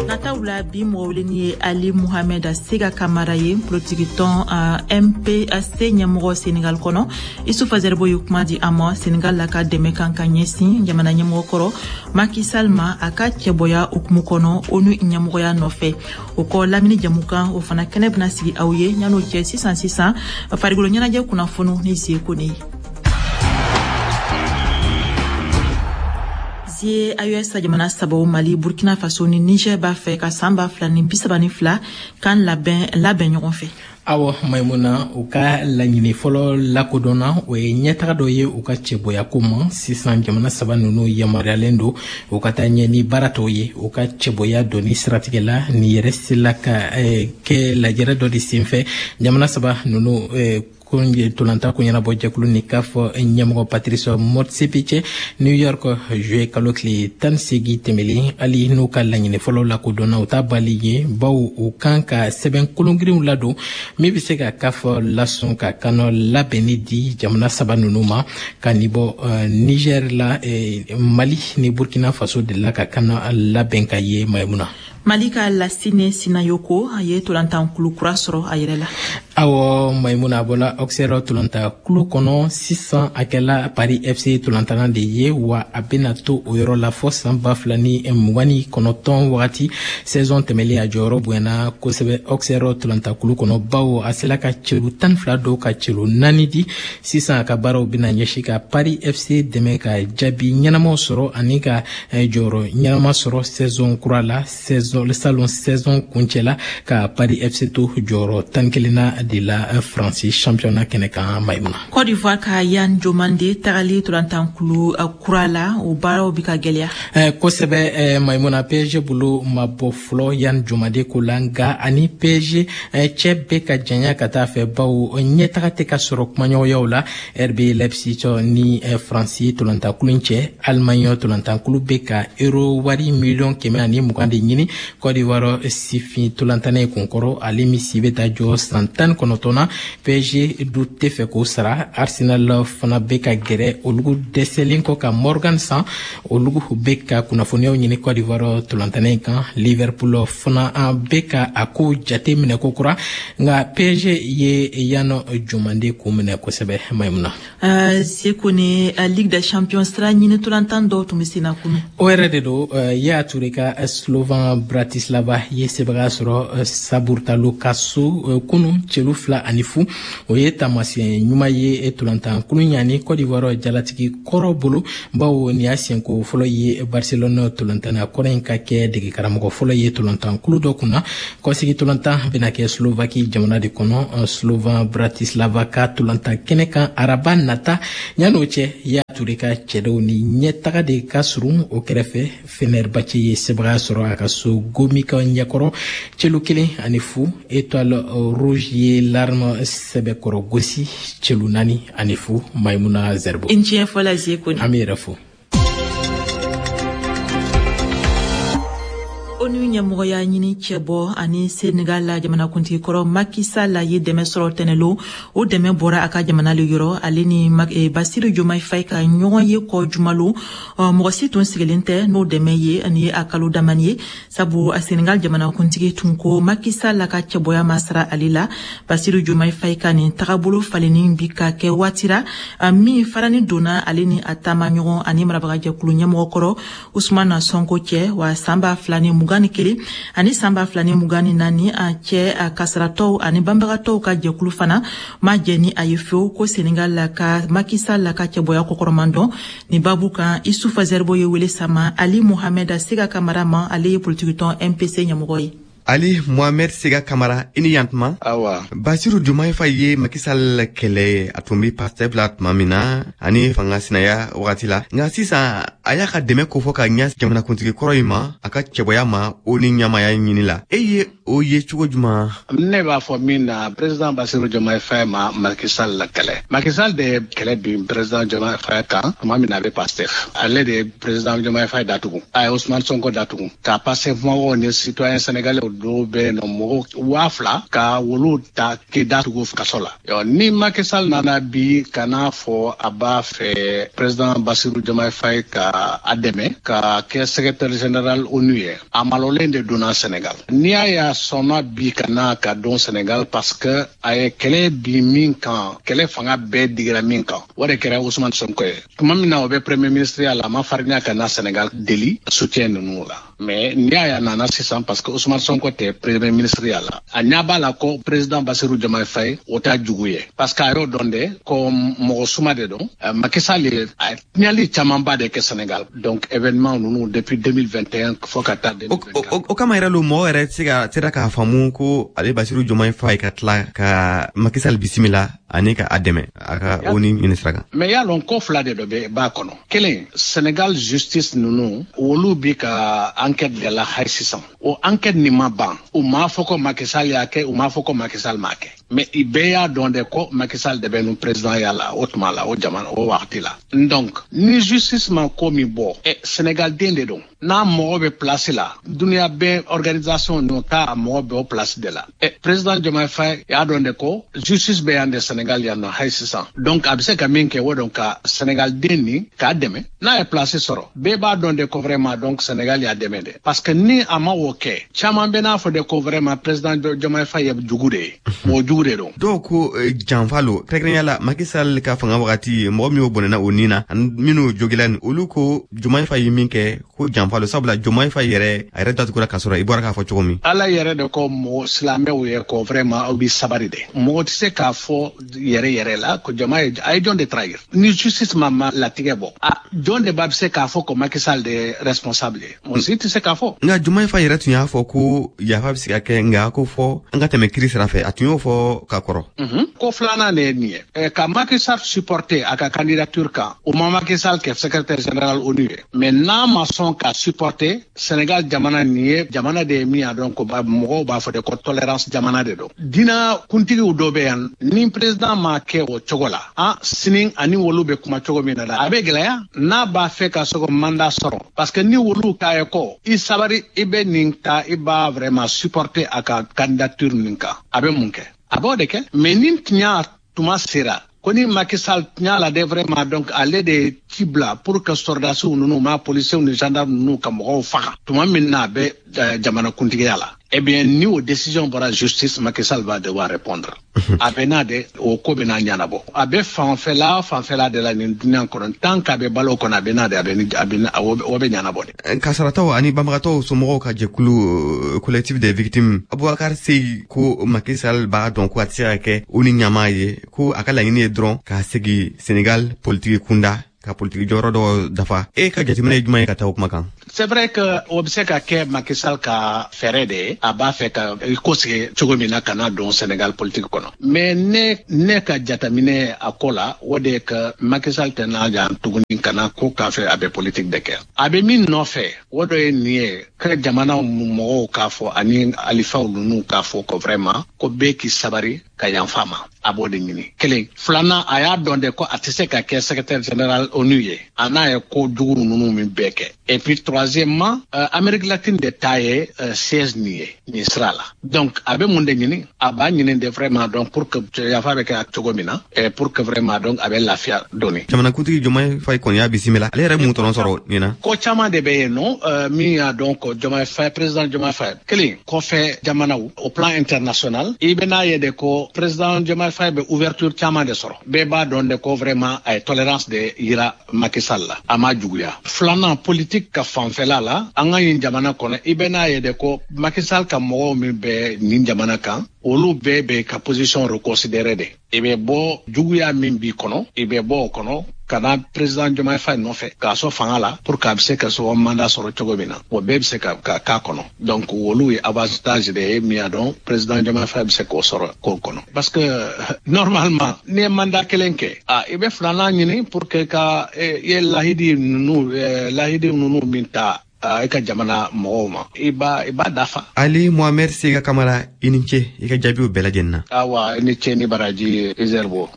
Nataw la bi mɔgɔ weleni ye Ali Mohamed Sega Kamara ye, politikitɔn M P C ɲɛmɔgɔ Senegal kɔnɔ. Isufa Zerbo ye kuma di a ma Senegal la ka dɛmɛ kan ka ɲɛsin jamana ɲɛmɔgɔ kɔrɔ Macky Sall ma a ka cɛbɔya hukumu kɔnɔ ONU ɲɛmɔgɔya nɔfɛ. O kɔ lamini jamukan o fana kɛnɛ bɛna sigi aw ye yan'o cɛ sisan sisan farikolo ɲɛnajɛ kunnafoniw ni Zie Kone ye. Zie A E S jamana sabaw, Mali, Burkina Faso ni Niger, b'a fɛ ka san ba fila ni bisaba ni fila kan labɛn labɛn ɲɔgɔn fɛ. Awɔ Maimuna, u ka laɲini fɔlɔ lakodɔnna, o ye ɲɛtaga dɔ ye u ka cɛbɔyako ma. Sisan jamana saba ninnu yamaruyalen don u ka taa ɲɛ ni baara tɔw ye u ka cɛbɔya dɔnni siratigɛ la. Nin yɛrɛ sela ka eh, kɛ lajɛrɛ dɔ de senfɛ jamana saba ninnu eh, tolanta ko ɲɛnabɔ jɛkulu ni CAF ɲɛmɔgɔ Patrice Motsepe cɛ New York juillet kalo tile tan segi tɛmɛlen. Hali n'u ka laɲini fɔlɔ lakodɔnna, u t'a bali ye, bawo u kan ka sɛbɛn kolongirinw ladon min bɛ se ka CAF lasɔn ka kanɔ labɛnni di jamana saba ninnu ma. Ka nin bɔ Niger la, Mali ni Burkina Faso delila ka kanɔ labɛn ka ye, Maimuna. Mali ka Lasine Sinayoko, a ye tolantankulu kura sɔrɔ a yɛrɛ la. Awɔ Maimuna, a bɔla Auxerre tolantankulu kɔnɔ, sisan a kɛla Paris F C tolantanna de ye, wa a bɛna to o yɔrɔ la fɔ san ba fila ni mugan ni kɔnɔntɔn wagati. Saison tɛmɛlen, a jɔyɔrɔ bonyana kosɛbɛ Auxerre tolantankulu kɔnɔ, bawo a sela ka celu tan ni fila dɔw ka celu naani di. Sisan a ka baaraw bɛna ɲɛsin ka Paris F C dɛmɛ ka jaabi ɲɛnamaw sɔrɔ ani ka jɔyɔrɔ ɲɛnama sɔrɔ saison kura la. Saison salon saison kuncɛla, ka Paris F C to jɔyɔrɔ tan kelenna de la Faransi championnat kɛnɛ kan, Maimuna. Côte d'Ivoire ka Yan Jomande tagali tolantankulu kura la, o baaraw bi ka gwɛlɛya. eh, kosɛbɛ eh, Maimuna, P S G bolo ma bɔ fɔlɔ Yan Jomande ko la, nka ani P S G eh, cɛ bɛ ka janya ka taa fɛ, bawo ɲɛtaga tɛ ka sɔrɔ kumaɲɔgɔnyaw la R B Leipzig ni eh, Faransi tolantankulu cɛ. Allemagne tolantankulu bɛ ka euro wari miliyɔn kɛmɛ ani mugan de ɲini Côte d'Ivoire sifin tolantanɛ ye kunkɔrɔ, ale min si bɛ taa jɔ san tan kɔnɔntɔn na. P S G du tɛ fɛ k'o sara. Arsenal fana bɛ ka gɛrɛ olugu dɛsɛlen kɔ ka Morgan san, olugu bɛ ka kunnafoniyaw ɲini Côte d'Ivoire tolantanɛ in kan. Liverpool fana bɛ ka a ko jate minɛ ko kura, nka P S G ye Yan Jomande kun minɛ kosɛbɛ, Maimuna. uh, Seko ni uh, Ligue des Champions sira ɲini tolantan dɔw tun bɛ sen na kunu. O yɛrɛ de don. uh, Yaya Toure ka Slovan Bratislava ye sebaga sɔrɔ Saburtalo ka so kunu celu fila ani fu. O ye taamasiyɛn ɲuman ye tolantankulu ɲani Côte d'Ivoire jalatigi kɔrɔ bolo, bawo nin y'a siɲɛko fɔlɔ ye Barcelone tolantanna kɔrɔ in ka kɛ degekaramɔgɔ fɔlɔ ye tolantankulu dɔ kunna. Kɔsigi tolantan bɛna kɛ Slovaki jamana de kɔnɔ, Slovan Bratislava ka tolantan kɛnɛ kan araba nata. Yan'o cɛ, Yaya Toure ka cɛdenw ni ɲɛtaga de ka surun. O kɛrɛfɛ, Fenerbahce ye sebaga sɔrɔ a ka so Gomika ɲɛkɔrɔ celu kelen ani fu. Étoile Rouge ye Larme sɛbɛkɔrɔ gosi celu naani ani fu, Maimuna Zerbo. I tiɲɛ fɔla, Zeko. An bɛ yɛrɛ fo. ONU ɲɛmɔgɔya ɲini cɛbɔ ani Senegal la jamanakuntigi kɔrɔ Macky Sall ye dɛmɛ sɔrɔ tɛnɛlo. O dɛmɛ bɔra a ka jamana le yɔrɔ. Ale ni Basiru Jomayi Fayi ka ɲɔgɔn ye kɔ jumalo, mɔgɔ si tun sigilen tɛ n'o dɛmɛ ye ani ye a kalo damani ye, sabu a Senegal jamanakuntigi tun ko Macky Sall ka cɛbɔya ma sara ale la. Basiru Jomayi Fayi ka nin tagabolo falenni bi ka kɛ waati ra min farani donna ale ni a taama ɲɔgɔn ani marabagajɛkulu ɲɛmɔgɔ kɔrɔ Usumana Sonko cɛ. Wa san ba fila ni mugan ni kelen ani san ba fila ni mugan ni naani a cɛ, a kasaratɔw ani banbagatɔw ka jɛkulu fana ma jɛ ni a ye fewu ko Senegal la ka Macky Sall la ka cɛbɔya kɔkɔrɔman dɔn. Nin babu kan, Isufa Zɛribo ye wele sama Ali Mohamɛd Sega Kamara ma, ale ye politikitɔn M P C ɲɛmɔgɔ ye. Ali Mohamed Sega Kamara, i ni yantuma. Awa. Basiru Jomayi Fayi ye Macky Sall kɛlɛ a tun bɛ Pastef la tuma min na ani fanga sinaya wagati la, nka sisan a y'a ka dɛmɛ kofɔ ka ɲɛ jamanakuntigi kɔrɔ in ma, a ka cɛbɔya ma o ni ɲamaya ɲini la. E ye o ye cogo juman? Ne b'a fɔ min na, président Basiru Jomayi Fayi ma Macky Sall la kɛlɛ. Macky Sall de ye kɛlɛ bin président Jomayi Fayi kan tuma min na a bɛ Pastef. Ale de ye président Jomayi Fayi datugu, a ye Ousmane Sonko datugu, ka Pastef mɔgɔw ni citoyen sénégalais dɔw bɛ yen nɔ, mɔgɔ waa fila, ka wolu ta k'i datugu kaso la. Ni Macky Sall nana bi ka n'a fɔ a b'a fɛ président Basiru Jomayi Fayi ka a dɛmɛ ka kɛ secrétaire général ONU ye, a malolen de donna Sénégal. N'i y'a ye a sɔnna bi ka na ka don Sénégal, parce que a ye kɛlɛ bi min kan, kɛlɛ fanga bɛɛ digira min kan, o de kɛra Ousmane Sonko ye. Tuma min na o bɛ premier ministre ya la, a ma farinya ka na Sénégal deli soutien ninnu la. Mais n'i y'a ye a nana sisan, parce que Ousmane Sonko tɛ premier ministre ya la, a ɲɛ b'a la ko président Bassirou Diomaye Faye, o t'a jugu ye, parce que a y'o dɔn de ko mɔgɔ suma de don. Macky Sall ye a tiɲɛli camanba de kɛ Sénégal, donc événement ninnu depuis deux mille vingt et un fo ka taa deux mille vingt-quatre. O kama yɛrɛ lo, mɔgɔ yɛrɛ tɛ se ka sera k'a faamu ko ale Bassirou Diomaye Faye ka tila ka Macky Sall bisimila ani ka a dɛmɛ a ka O N U ɲini sira kan. Mais y'a lɔn, ko fila de dɔ bɛ b'a kɔnɔ. Kelen, Sénégal justice ninnu, olu bi ka enquête de la hali sisan. O enquête nin ma ban. U m'a fɔ ko Macky Sall y'a kɛ, u m'a fɔ ko Macky Sall m'a kɛ, mais i bɛɛ y'a dɔn de ko Macky Sall de bɛ nu président ya la o tuma la, o jamana o wagati la. Donc ni justice ma ko min bɔ, ɛ Sénégal den de don, n'a mɔgɔ bɛ place la, dunuya bɛɛ organisation ninnu k'a mɔgɔ bɛ o place de la. Ɛ président Diomaye Faye y'a dɔn de ko justice bɛ yan de, Sénégal yan nɔ hali sisan. Donc a bɛ se ka min kɛ, o don ka Sénégal den nin k'a dɛmɛ n'a ye place sɔrɔ. Bɛɛ b'a dɔn de ko vraiment, donc Sénégal y'a dɛmɛ de, parce que ni a ma o kɛ, caman bɛ n'a fɔ de ko vraiment président Diomaye Faye ye jugu de ye, mɔgɔ jugu de don. Dɔw ko janfa lo, kɛrɛnkɛrɛnya la Macky Sall ka fanga wagati, mɔgɔ min y'o bɔnɛna o nin na ani minnu jogila ni, olu ko Diomaye Faye ye min kɛ ko janfa lo, sabula Diomaye Faye yɛrɛ, a yɛrɛ datugura k'a sɔrɔ i bɔra k'a fɔ cogo min. Ala yɛrɛ de ko mɔgɔ silamɛw ye ko vraiment aw bi sabari de. Mɔgɔ tɛ se k'a fɔ yɛrɛ yɛrɛ la ko Diomaye a ye jɔn de trahir. Ni justice ma ma latigɛ bɔ, a jɔn de b'a bɛ se k'a fɔ ko Macky Sall de ye responsable ye? Mɔgɔ si tɛ se k'a fɔ. Nka Diomaye Faye yɛrɛ tun y'a fɔ ko yafa bɛ se ka kɛ, nka ko fɔ an ka tɛmɛ kiri sira fɛ. A tun y'o fɔ ka kɔrɔ. Ko filanan de ye nin ye: ka Macky Sall supporter a ka candidature kan, o ma Macky Sall kɛ secrétaire général O N U ye, mais n'a ma sɔn ka supporter Sénégal jamana nin ye, jamana de ye min y'a dɔn ko mɔgɔw b'a fɔ de ko tolérance jamana de don. Dina kuntigiw dɔ bɛ yan, ni président ma kɛ o cogo la, an sini ani wolu bɛ kuma cogo min na, a bɛ gɛlɛya n'a b'a fɛ ka se ko mandat sɔrɔ, parce que ni wolu k'a ye ko i sabari, i bɛ nin ta, i b'a vraiment supporter a ka candidature nin kan, a bɛ mun kɛ? A b'o de kɛ. Mais ni tiɲɛ tuma sera ko ni Macky Sall tiɲɛ la de vraiment, donc ale de ci bila pour que sɔrɔdasiw ninnu ma, policiers ni gendarmes ninnu ka mɔgɔw faga tuma min na a bɛ jamana kuntigiya la, eh bien, ni o décision bɔra justice, Macky Sall va devoir répondre. A bɛ n'a de o ko bɛ n'a ɲɛnabɔ. A bɛ fanfɛla fanfɛla de la nin dunuya kɔnɔ, tant qu'a bɛ balo kɔnɔ, a bɛ n'a de, a bɛ a bɛ o bɛ ɲɛnabɔ de. Kasarataw ani banbagatɔw somɔgɔw ka jɛkulu, Collectif des victimes, Aboubacar Seye ko Macky Sall b'a dɔn ko a tɛ se ka kɛ o ni ɲamaa ye, ko a ka laɲini ye dɔrɔn ka segin Sénégal politiki kunda, ka politiki jɔyɔrɔ dɔ dafa. E ka jateminɛ ye jumɛn ye ka taa o kuma kan? C'est vrai que o bɛ se ka kɛ Macky Sall ka fɛɛrɛ de ye, a b'a fɛ ka i ko sigi cogo min na ka na don Sénégal politique kɔnɔ. Mais ne ne ka jateminɛ a ko la, o de ye que Macky Sall tɛ n'a jan tuguni ka na ko k'a fɛ a bɛ politique de kɛ. A bɛ min nɔfɛ, o dɔ ye nin ye ka jamana mɔgɔw k'a fɔ ani alifaw ninnu k'a fɔ ko vraiment ko bɛɛ k'i sabari ka yanfa ma. A b'o de ɲini kelen. Filanan, a y'a dɔn de ko a tɛ se ka kɛ secrétaire général O N U ye, a n'a ye ko jugu ninnu min bɛɛ kɛ. Et puis troisièmement, euh, Amérique latine de ta ye euh, siège nin ye nin sira la. Donc a bɛ mun de ɲini? A b'a ɲini de vraiment, donc pour que yafa bɛ kɛ cogo min na, et pour que vraiment donc a bɛ lafiya dɔɔni. Jamanakuntigi Diomaye Faye kɔni y'a bisimila. Ale yɛrɛ mun tɔnɔ sɔrɔ nin na? Ko caman de bɛ yen nɔ euh, min y'a dɔn ko Diomaye Faye, président Diomaye Faye kelen kɔfɛ jamanaw au plan international, i bɛ n'a ye de ko président Diomaye Faye bɛ ouverture caman de sɔrɔ. Bɛɛ b'a dɔn de ko vraiment a ye tolérance de yira Macky Sall la, a ma juguya. Filanan, politique ka fanfɛla la, an ka nin jamana kɔnɔ, i bɛ n'a ye de ko Macky Sall ka mɔgɔw min bɛ nin jamana kan, olu bɛɛ bɛ ka position reconsidérer de. I bɛ bɔ juguya min b'i kɔnɔ, i bɛ bɔ o kɔnɔ ka na président Diomaye Faye nɔfɛ k'a sɔn fanga la pour que a bɛ se ka sɔn mandat sɔrɔ cogo min na, o bɛɛ bɛ se ka ka k'a kɔnɔ. Donc olu ye avantage de ye min y'a dɔn président Diomaye Faye bɛ se k'o sɔrɔ k'o kɔnɔ, parce que normalement n'i ye mandat kelen kɛ, a i bɛ filanan ɲini pour que ka i ye lahidi ninnu lahidi ninnu min ta i ka jamana mɔgɔw ma, i b'a i b'a dafa. Ali Mohamed Sega Kamara, i ni ce i ka jaabiw bɛɛ lajɛlen na. Awa, i ni ce ni baraji, Izerbo.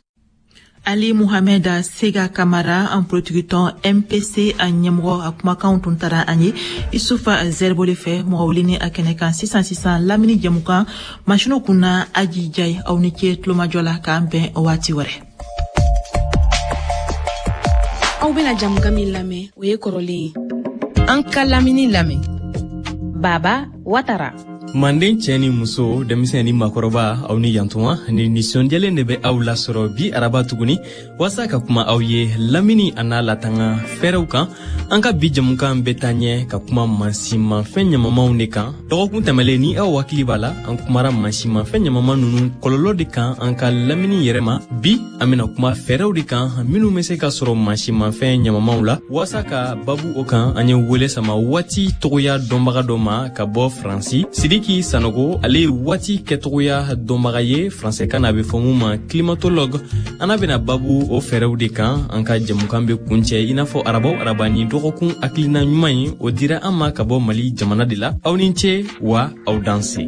Ali Mohamed Sega Kamara, an politikitɔn M P C a ɲɛmɔgɔ, a kumakanw tun tara an ye Isufa Zɛribo le fɛ. Mɔgɔ wuli ni a kɛnɛ kan sisan sisan, lamini jɛmukan masiniw kunna, Aji Jayi. Aw ni ce tulomajɔ la, k'an bɛn waati wɛrɛ. Aw bena jamukan min lamɛn, o ye kɔrɔlen ye. An ka lamini lamɛn. Baba Watara. Manden cɛ ni muso, denmisɛn ni makɔrɔba, aw ni yantuma. Ni nisɔndiyalen de bɛ aw lasɔrɔ bi araba tuguni waasa ka kuma aw ye lamini a n'a latanga fɛɛrɛw kan. An ka bi jamukan bɛ taa ɲɛ ka kuma mansinmafɛn ɲamamanw de kan. Dɔgɔkun tɛmɛlen, ni aw hakili b'a la, an kumara mansinmafɛn ɲamaman ninnu kɔlɔlɔ de kan an ka lamini yɛrɛ ma. Bi an bɛna kuma fɛɛrɛw de kan minnu bɛ se ka sɔrɔ mansinmafɛn ɲamamanw la. Waasa ka babu o kan, an ye wele sama waati togoya dɔnbaga dɔ ma ka bɔ Faransi, Sidiki Sanogo. Ale ye waati kɛtogoya dɔnbaga ye, faransɛkan na a bɛ fɔ mun ma climatologue. An n'a bɛna babu o fɛɛrɛw de kan. An ka jɛmukan bɛ kuncɛ i n'a fɔ araba o araba ni dɔgɔkun hakilina ɲuman ye, o dira an ma ka bɔ Mali jamana de la. Aw ni ce wa aw danse.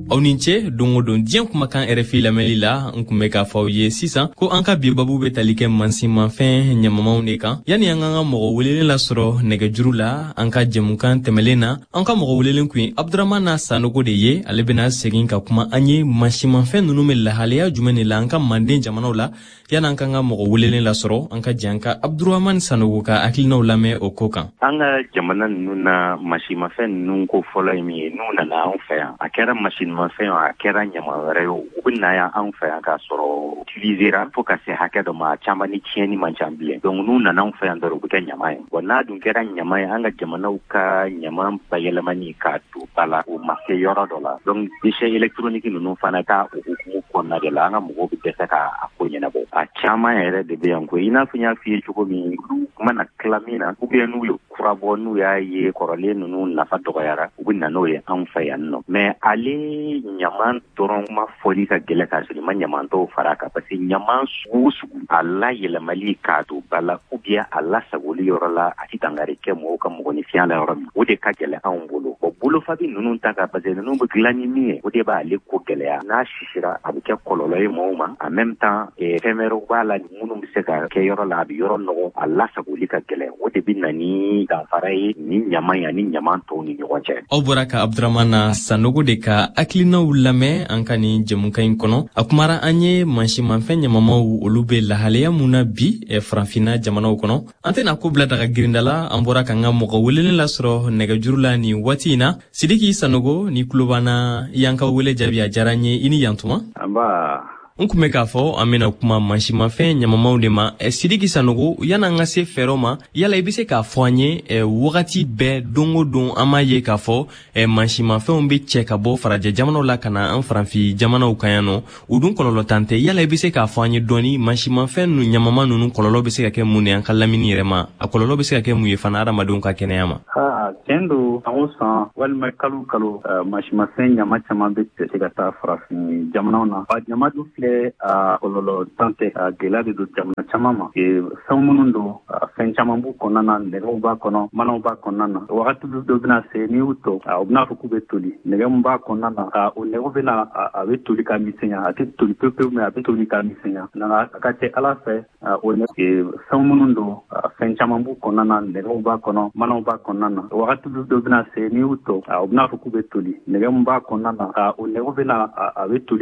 Aw ni ce don o don diɲɛ kumakan R F I lamɛnli la. N kun bɛ k'a fɔ aw ye sisan ko an ka bi babu bɛ tali kɛ mansinmafɛn ɲamamanw de kan. Yanni an k'an ka mɔgɔ welelen lasɔrɔ nɛgɛjuru la, an ka jɛmukan tɛmɛlen na, an ka mɔgɔ welelen kun ye Abdramana Sanogo de ye. Ale bɛna segin ka kuma an ye mansinmafɛn ninnu bɛ lahalaya jumɛn de la an ka manden jamanaw la. Yanni an k'an ka mɔgɔ welelen lasɔrɔ, an ka jɛ an ka Abdurahmani Sanogo ka hakilinaw lamɛn o ko kan. An ka jamana ninnu na, mansinmafɛn ninnu ko fɔlɔ ye min ye, n'u nana anw fɛ yan, a kɛra mansinmafɛn o, a kɛra ɲama wɛrɛ ye o, u bɛ na yan anw fɛ yan k'a sɔrɔ utilisera fo ka se hakɛ dɔ ma, a caman ni tiɲɛni man ca bilen. Donc n'u nana anw fɛ yan dɔrɔn, u bɛ kɛ ɲama ye. Bon, n'a dun kɛra ɲama ye, an ka jamanaw ka ɲama bayɛlɛmani k'a don ba la, o ma se yɔrɔ dɔ la. Donc déchets électroniques ninnu fana ka o hukumu kɔnɔna de la, an ka mɔgɔw bɛ dɛsɛ k'a ko ɲɛnabɔ. A caman yɛrɛ de bɛ yan koyi. I n'a fɔ n y'a f'i ye cogo min, olu mana tila min na, ou bien n'u ye kura bɔ, n'u y'a ye kɔrɔlen ninnu nafa dɔgɔyara, u bɛ na n'o ye anw fɛ yan nɔ. Mais ale ɲaman dɔrɔn ma fɔli ka gɛlɛn k'a sɔrɔ i ma ɲaman tɔw fara a kan, parce que ɲaman sugu o sugu, a layɛlɛmali k'a don ba la ou bien a lasagoli yɔrɔ la, a ti dankari kɛ mɔgɔw ka mɔgɔninfinya la yɔrɔ min, o de ka gɛlɛn anw bolo. Bon, bolofabi ninnu ta kan, parce que ninnu bɛ dilan ni min ye, o de b'ale ko gɛlɛya. N'a sisira, a bɛ kɛ kɔlɔlɔ ye mɔgɔw ma. En même temps, fɛn wɛrɛw b'a la minnu bɛ se ka kɛ yɔrɔ la, a bɛ yɔrɔ nɔgɔ, a lasagoli ka gɛlɛn. O de bɛ na ni danfara ye ni ɲaman ye ani ɲaman tɔw ni ɲɔgɔn cɛ. Aw bɔra ka Abdramana Sanogo de ka hakilinaw lamɛn an ka nin jɛmukan in kɔnɔ. A kumara an ye mansinmafɛn ɲamamaw, olu bɛ lahalaya mun na bi Farafinna jamanaw kɔnɔ. An tɛna ko bila daga girinda la. An bɔra k'an ka mɔgɔ welelen lasɔrɔ nɛgɛjuru la nin waati in na. Sidiki Sanogo, ni tulo b'an na, i y'an ka wele jaabi, a diyara n ye. I ni yantuma. Nba. N kun bɛ k'a fɔ an bɛna kuma mansinmafɛn ɲamamaw de ma. Sidiki Sanogo, yan'an ka se fɛɛrɛw ma, yala i bɛ se k'a fɔ an ye, wagati bɛɛ, don o don, an m'a ye k'a fɔ mansinmafɛnw bɛ cɛ ka bɔ farajɛ jamanaw la ka na an farafin jamanaw kan yan nɔ, u dun kɔlɔlɔ tan tɛ. Yala i bɛ se k'a fɔ an ye dɔɔni, mansinmafɛn ninnu ɲamama ninnu kɔlɔlɔ bɛ se ka kɛ mun ye an ka lamini yɛrɛ ma? A kɔlɔlɔ bɛ se ka kɛ mun ye fana hadamadenw ka kɛnɛya ma? Aa, tiɲɛ don, san o san walima kalo kalo, mansinmafɛn ɲama caman bɛ cɛ ka taa farafin jamanaw na. A ɲama dun filɛ, a kɔlɔlɔ tan tɛ, a gɛlɛya de don jamana caman ma. Fɛn minnu don, fɛn caman b'u kɔnɔna na, nɛgɛw b'a kɔnɔ, manaw b'a kɔnɔna na. Wagati dɔ bɛna se, n'i y'u to, u bɛna fɔ k'u bɛ toli. Nɛgɛ min b'a kɔnɔna na, o nɛgɛw bɛna, a bɛ toli ka misɛnya. A tɛ toli pewu pewu, mais a bɛ toli ka misɛnya. Nka a ka ca Ala fɛ, o fɛn minnu don, fɛn caman b'u kɔnɔna na, nɛgɛw b'a kɔnɔ, manaw b'a kɔnɔna na. Wagati dɔ bɛna se, n'i y'u to, u bɛna fɔ k'u bɛ toli. Nɛgɛ min b'a kɔnɔna na, o nɛgɛw bɛna, a bɛ toli.